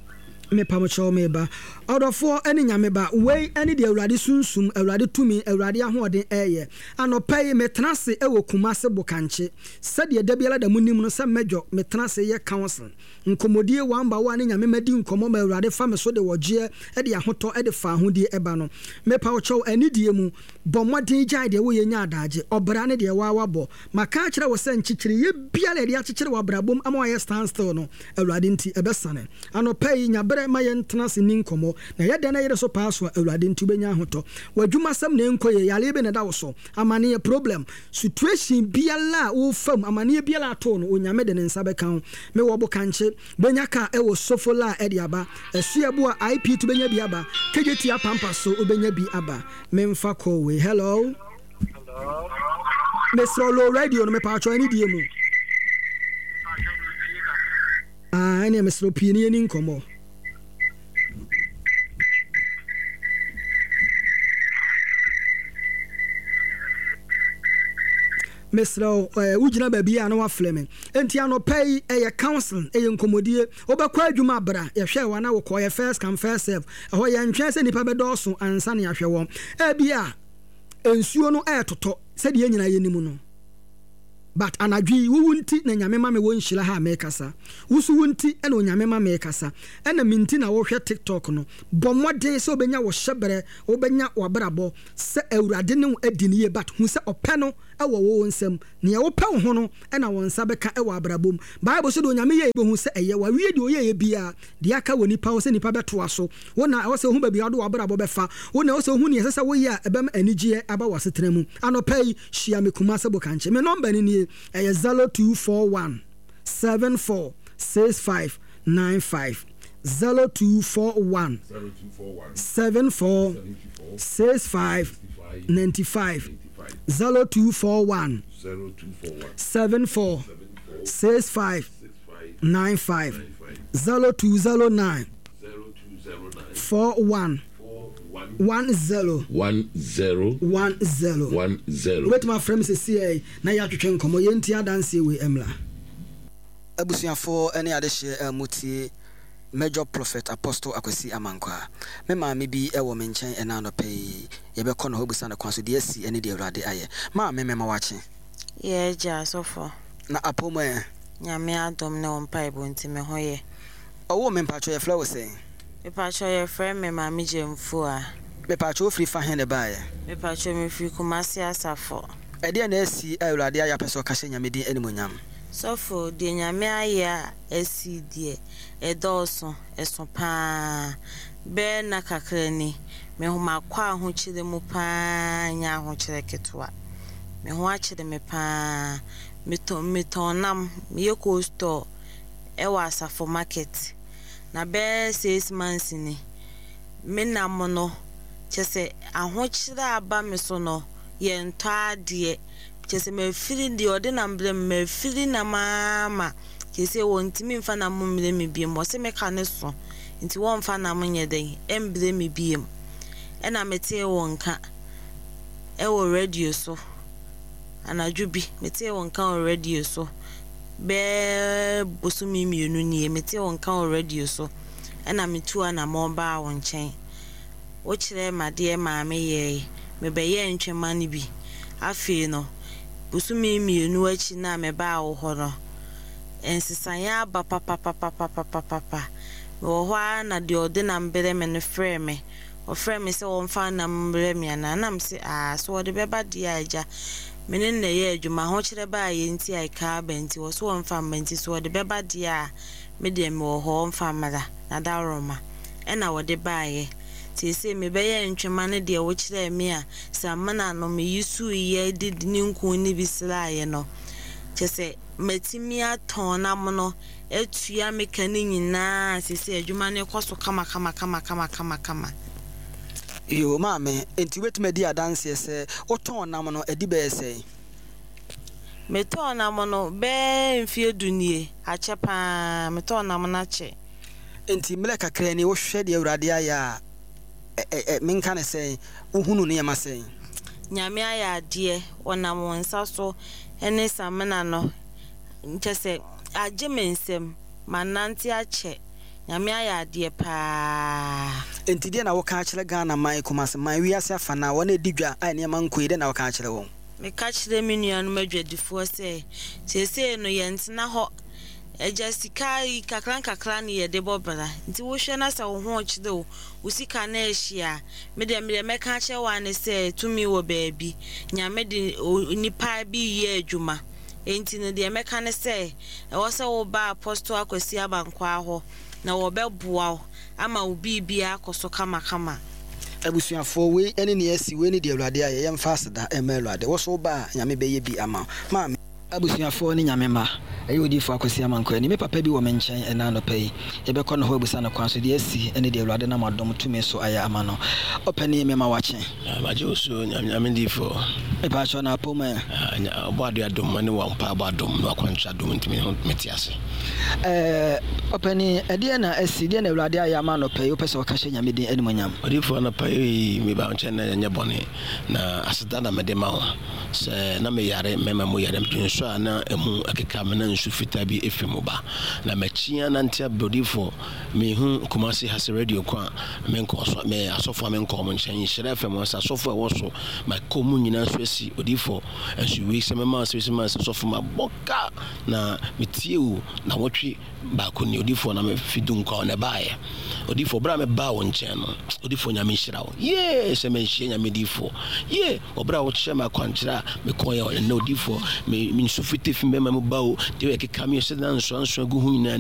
Mepamokyɛw meba ɔdɔfoɔ ne Nyame ba wei ne deɛ Awurade sunsum Awurade tumi Awurade ahoɔden ɛyɛ anɔpa yi metena ase ɛwɔ Kumase Bokankye sɛdeɛ da biara da mu nim no sɛ mɛdwɔ metena ase yɛ council nkɔmmɔdie one by one ne Nyame madi nkɔmmɔ ma Awurade fa me so de wɔgyeɛ de ahotɔ de fa ahodie ɛba no mepamokyɛw anidie mu bɔ mmɔden gyae deɛ woyɛ nya adagye ɔbra ne deɛ waa wabɔ maka akyerɛ wo sɛ nkyekyereyɛ biara yɛde akyekyere w'abrabom ama wayɛ stand still no Awurade nti ɛbɛsane anɔpa yi nyaberɛ ma yɛntena ase ni nkɔmmɔ na yɛdɛn na yɛde so paa so a Awurade nti wobɛnya ahotɔ w'adwumasɛm na ɛnkɔ yɛ yareɛ bi na ɛda wo so amaneɛ problem situation biara a wofam amaneɛ biara ato no Onyame de ne nsa bɛka ho mewɔ Bokankye bɛnya ka ɛwɔ Sofola a ɛde aba Asuabu a I P to bɛnya bi aba K J T apampa so wobɛnya bi aba memfa kɔ wei. Hello. Hello. Mesrɛ low radio no mepatwɔ ɛne die mu. Ah, ɛne mesrɛ pii ne yɛni nkɔmmɔ. Mesrɛ wo, eh, wogyina baabi a na wafrɛ me. Enti anɔpa yi, ɛyɛ counseling, ɛyɛ nkɔmmɔdie. Wobɛkɔ adwuma bra, yɛhwɛ wo a na wokɔ, ɛyɛ first come first serve. Ɛhɔ yɛntwɛn sɛ nnipa bɛdɔɔso ansa na yɛahwɛ wɔn. Ebia nsuo no ɛretotɔ sɛdeɛ yɛn nyinaa yɛnim no. But anadwo yi, wo wo nti na Nyame ma me wɔ nhyira ha a merekasa. Wo nso wo nti na Onyame ma merekasa. Ɛna me nti na wohwɛ TikTok no. Bɔ mmɔden sɛ wobɛnya wo hyɛberɛ, wobɛnya w'abrabɔ sɛ Awurade ne wo adi no yie but hu sɛ ɔpɛ no wɔ wo wo nsam. Nea wopɛ wo ho no na wo nsa bɛka wɔ abrabɔ mu. Bible se deɛ Onyame yɛeɛ bɛhu sɛ ɛyɛ. Wawie deɛ ɔyɛeɛ biara. Deɛ aka wɔ nipa hɔ sɛ nipa bɛtoa so. Wo na ɛwɔ sɛ wohu baabi a wode w'abrabɔ bɛfa. Wo na ɛwɔ sɛ wohu nea ɛsɛ sɛ woyɛ a ɛbɛma anigyeɛ aba w'asetena mu. Anɔpa yi, hyia me Kumase Bokankye. Me nɔmba no nie, ɛyɛ zero two four one seven four six five nine five, zero two four one seven four six five ninety five, zero two four one seven four six five nine five, zero two zero nine four one one zero one zero one zero one zero. Wobɛtumi afrɛ me sesiei na yɛatwetwe nkɔmmɔ. Yɛntie adanseɛ wei mmra. Abusuafoɔ ne adehyeɛ a motie Major Prophet Apostle Akwasi Amankwaa. Me maame bi wɔ me nkyɛn ɛna anɔpa yi. Yɛbɛkɔ ne hɔ abisa no kwan so deɛ asi ne deɛ Awurade ayɛ. Maame, mema wo akye. Yɛ agya asɔfo. Na apɔ mu ɛ? Nyame adom ne wo mpaebɔ nti me ho yɛ. Ɔwoo me mpakyɛw yɛfrɛ wo sɛn? Mepakyɛw yɛfrɛ me Maame Gyamfua. Mepakyɛw wofiri fa he na ɛbaeɛ? Mepakyɛw mefiri Kumasi Asafo. Ɛdeɛn na asi a Awurade ayɛ apɛ sɛ ɔka hyɛ Nyame din animuonyam? Sɔfo, deɛ Nyame ayɛ a asi deɛ, ɛdɔɔso, ɛso paa. Bɛyɛ nna kakra ni, me ho makɔ ahokyerɛ mu paa nyɛ ahokyerɛ ketewa. Me ho akyere me paa. Metɔn metɔn nam, meyɛ cold store ɛwɔ Asafo market. Na bɛyɛ six months ni, me nam no, kyerɛ sɛ ahokyerɛ a aba me so no, yɛntɔ adeɛ. Kyerɛ sɛ mafiri deɛ ɔde nam brɛ me, mafiri nam ara ma seesei wɔntumi mfa nam mmrɛ me biom. Wɔse me ka no so nti wɔmfa nam nyɛ dɛn mbrɛ me biom. Ɛna metee wo nka ɛwɔ radio so anadwo bi, metee wo nka wɔ radio so bɛɛ bosome mmienu nie, metee wo nka wɔ radio so ɛna metuu anammɔn baa wo nkyɛn. Wokyerɛɛ me adeɛ maa meyɛe, mebɛyɛɛ ntwema no bi. Afei no, bosome mmienu akyi no a mebaa wo hɔ no, nsesaeɛ aba papapapapapapa. Mewɔ hɔ ara na deɛ ɔde nam brɛ me no frɛɛ me. Ɔfrɛɛ me sɛ wɔmfa nam mbrɛ me anaa? Na mese, aa, so wɔde bɛba deɛ a agya, me ne no na ɛyɛ adwuma, ahokyerɛ baeɛ nti a ɛkaa aba nti, wɔ so wɔmfa mma nti, so wɔde bɛba deɛ a, me deɛ mewɔ hɔ, wɔmfa mmra, na dawuroma. Ɛna wɔde baeɛ. Seesei mebɛyɛ ntwema ne deɛ wokyerɛɛ me a samena no meyi suiɛ de ne nku no bi sraeɛ no. Kyerɛ sɛ matumi atɔn nam no atua me ka no nyinaa. Seesei adwuma no kɔ so kama kama kama kama kama kama. Yoo maame, enti wobɛtumi adi adanseɛ sɛ wotɔn nam no adi bɛyɛ sɛn? Metɔn nam no bɛyɛ mfeɛ du nie, akyɛ paa, metɔn nam no akyɛ. Enti mmerɛ kakra ni wohwɛ deɛ Awurade ayɛ a, ɛ ɛ ɛ menka no sɛn, wohunu nneɛma sɛn? Nyame ayɛ adeɛ, ɔnam wo nsa so ne samena no, kyerɛ sɛ agye me nsam, manante akyɛ, Nyame ayɛ adeɛ paa. Enti deɛ na woka akyerɛ Ghana man, Kumasi man, wiase afanaa, wɔn a ɛdi dwa a nneɛma nkɔ yie, deɛ na woka akyerɛ wɔn? Meka kyerɛ me nuanom adwadifoɔ sɛ, seesei no yɛntena hɔ, agya sika yi kakra nkakra ne yɛde bɔ bra, nti wohwɛ na sɛ wo ho rekyere wo, wo sika no ɛhye a, me deɛ medeɛ mɛka akyerɛ wo ara ne sɛ tumi wɔ baabi, Nyame de nipa bi yɛ adwuma, enti no deɛ mɛka ne sɛ ɛwɔ sɛ woba Apostle Akwasi Abankwaa hɔ na wɔbɛboa wo ama wo biribiara akɔ so kamakama. Abusuafoɔ, wei ne nea asi, wei ne deɛ Awurade ayɛ, yɛmfa aseda mma Awurade. Wo nso woba a, Nyame bɛyɛ bi ama wo. Maame. Abusuafoɔ ne Nyame mma, ɛyɛ Odiyifoɔ Akwasi Amankwah ni. Me papa bi wɔ me nkyɛn ɛnnɛ anɔpa yi. Yɛbɛkɔ ne hɔ abisa no kwan so deɛ asi ne deɛ Awurade nam adom tumi so ayɛ ama no. Ɔpanin, mema wo akye. Magye wo so, Nyame Nyame diyifoɔ. Mepaakyɛw, na apɔ mu ɛ? Ɔbɔ adeɛ adom ne wo mpaebɔ adom ne w'akwankyerɛ adom nti me ho mete ase. Ɛɛ, ɔpani, ɛdeɛ na asi, deɛ na Awurade ayɛ ama anɔpa yi wopɛ sɛ wɔka hyɛ Nyame din animonyam? Odiyifoɔ, anɔpa yi meba wo nkyɛn na ɛnyɛ bɔne, na aseda na mede ma wo sɛ na meyare mmarima mu yare nso a na ɛmu ɛkeka me na nsu fitaa bi ɛfiri mu ba, na makyi anante abrɛ. Odiyifoɔ, mehu Kumase ha sɛ radio ko a menkɔ so, me asɔfoɔ a menkɔ mo nkyɛn, Nhyira F M sɛ asɔfoɔ a ɛwɔ so makɔ mu nyinaa so asi. Odiyifoɔ, nso wei sɛ mɛma sɛ sɛ sɛ sɔfo mabɔ ka na metie wo na wɔtwe baako ni. Odiyifoɔ, na mefi Dunkwa na ɛbaeɛ. Odiyifoɔ, berɛ a mebaa wo nkyɛn no, odiyifoɔ, Nyame nhyira wo yee sɛ manhyia Nyame diyifoɔ yee ɔberɛ a wokyerɛ me akwankyerɛ a mekɔɛ ɛnnɛ. Odiyifoɔ, me nsu fite fi bɛma mu ba o, deɛ ɛkeka me sɛ na nsoansoa gu ho nyinaa.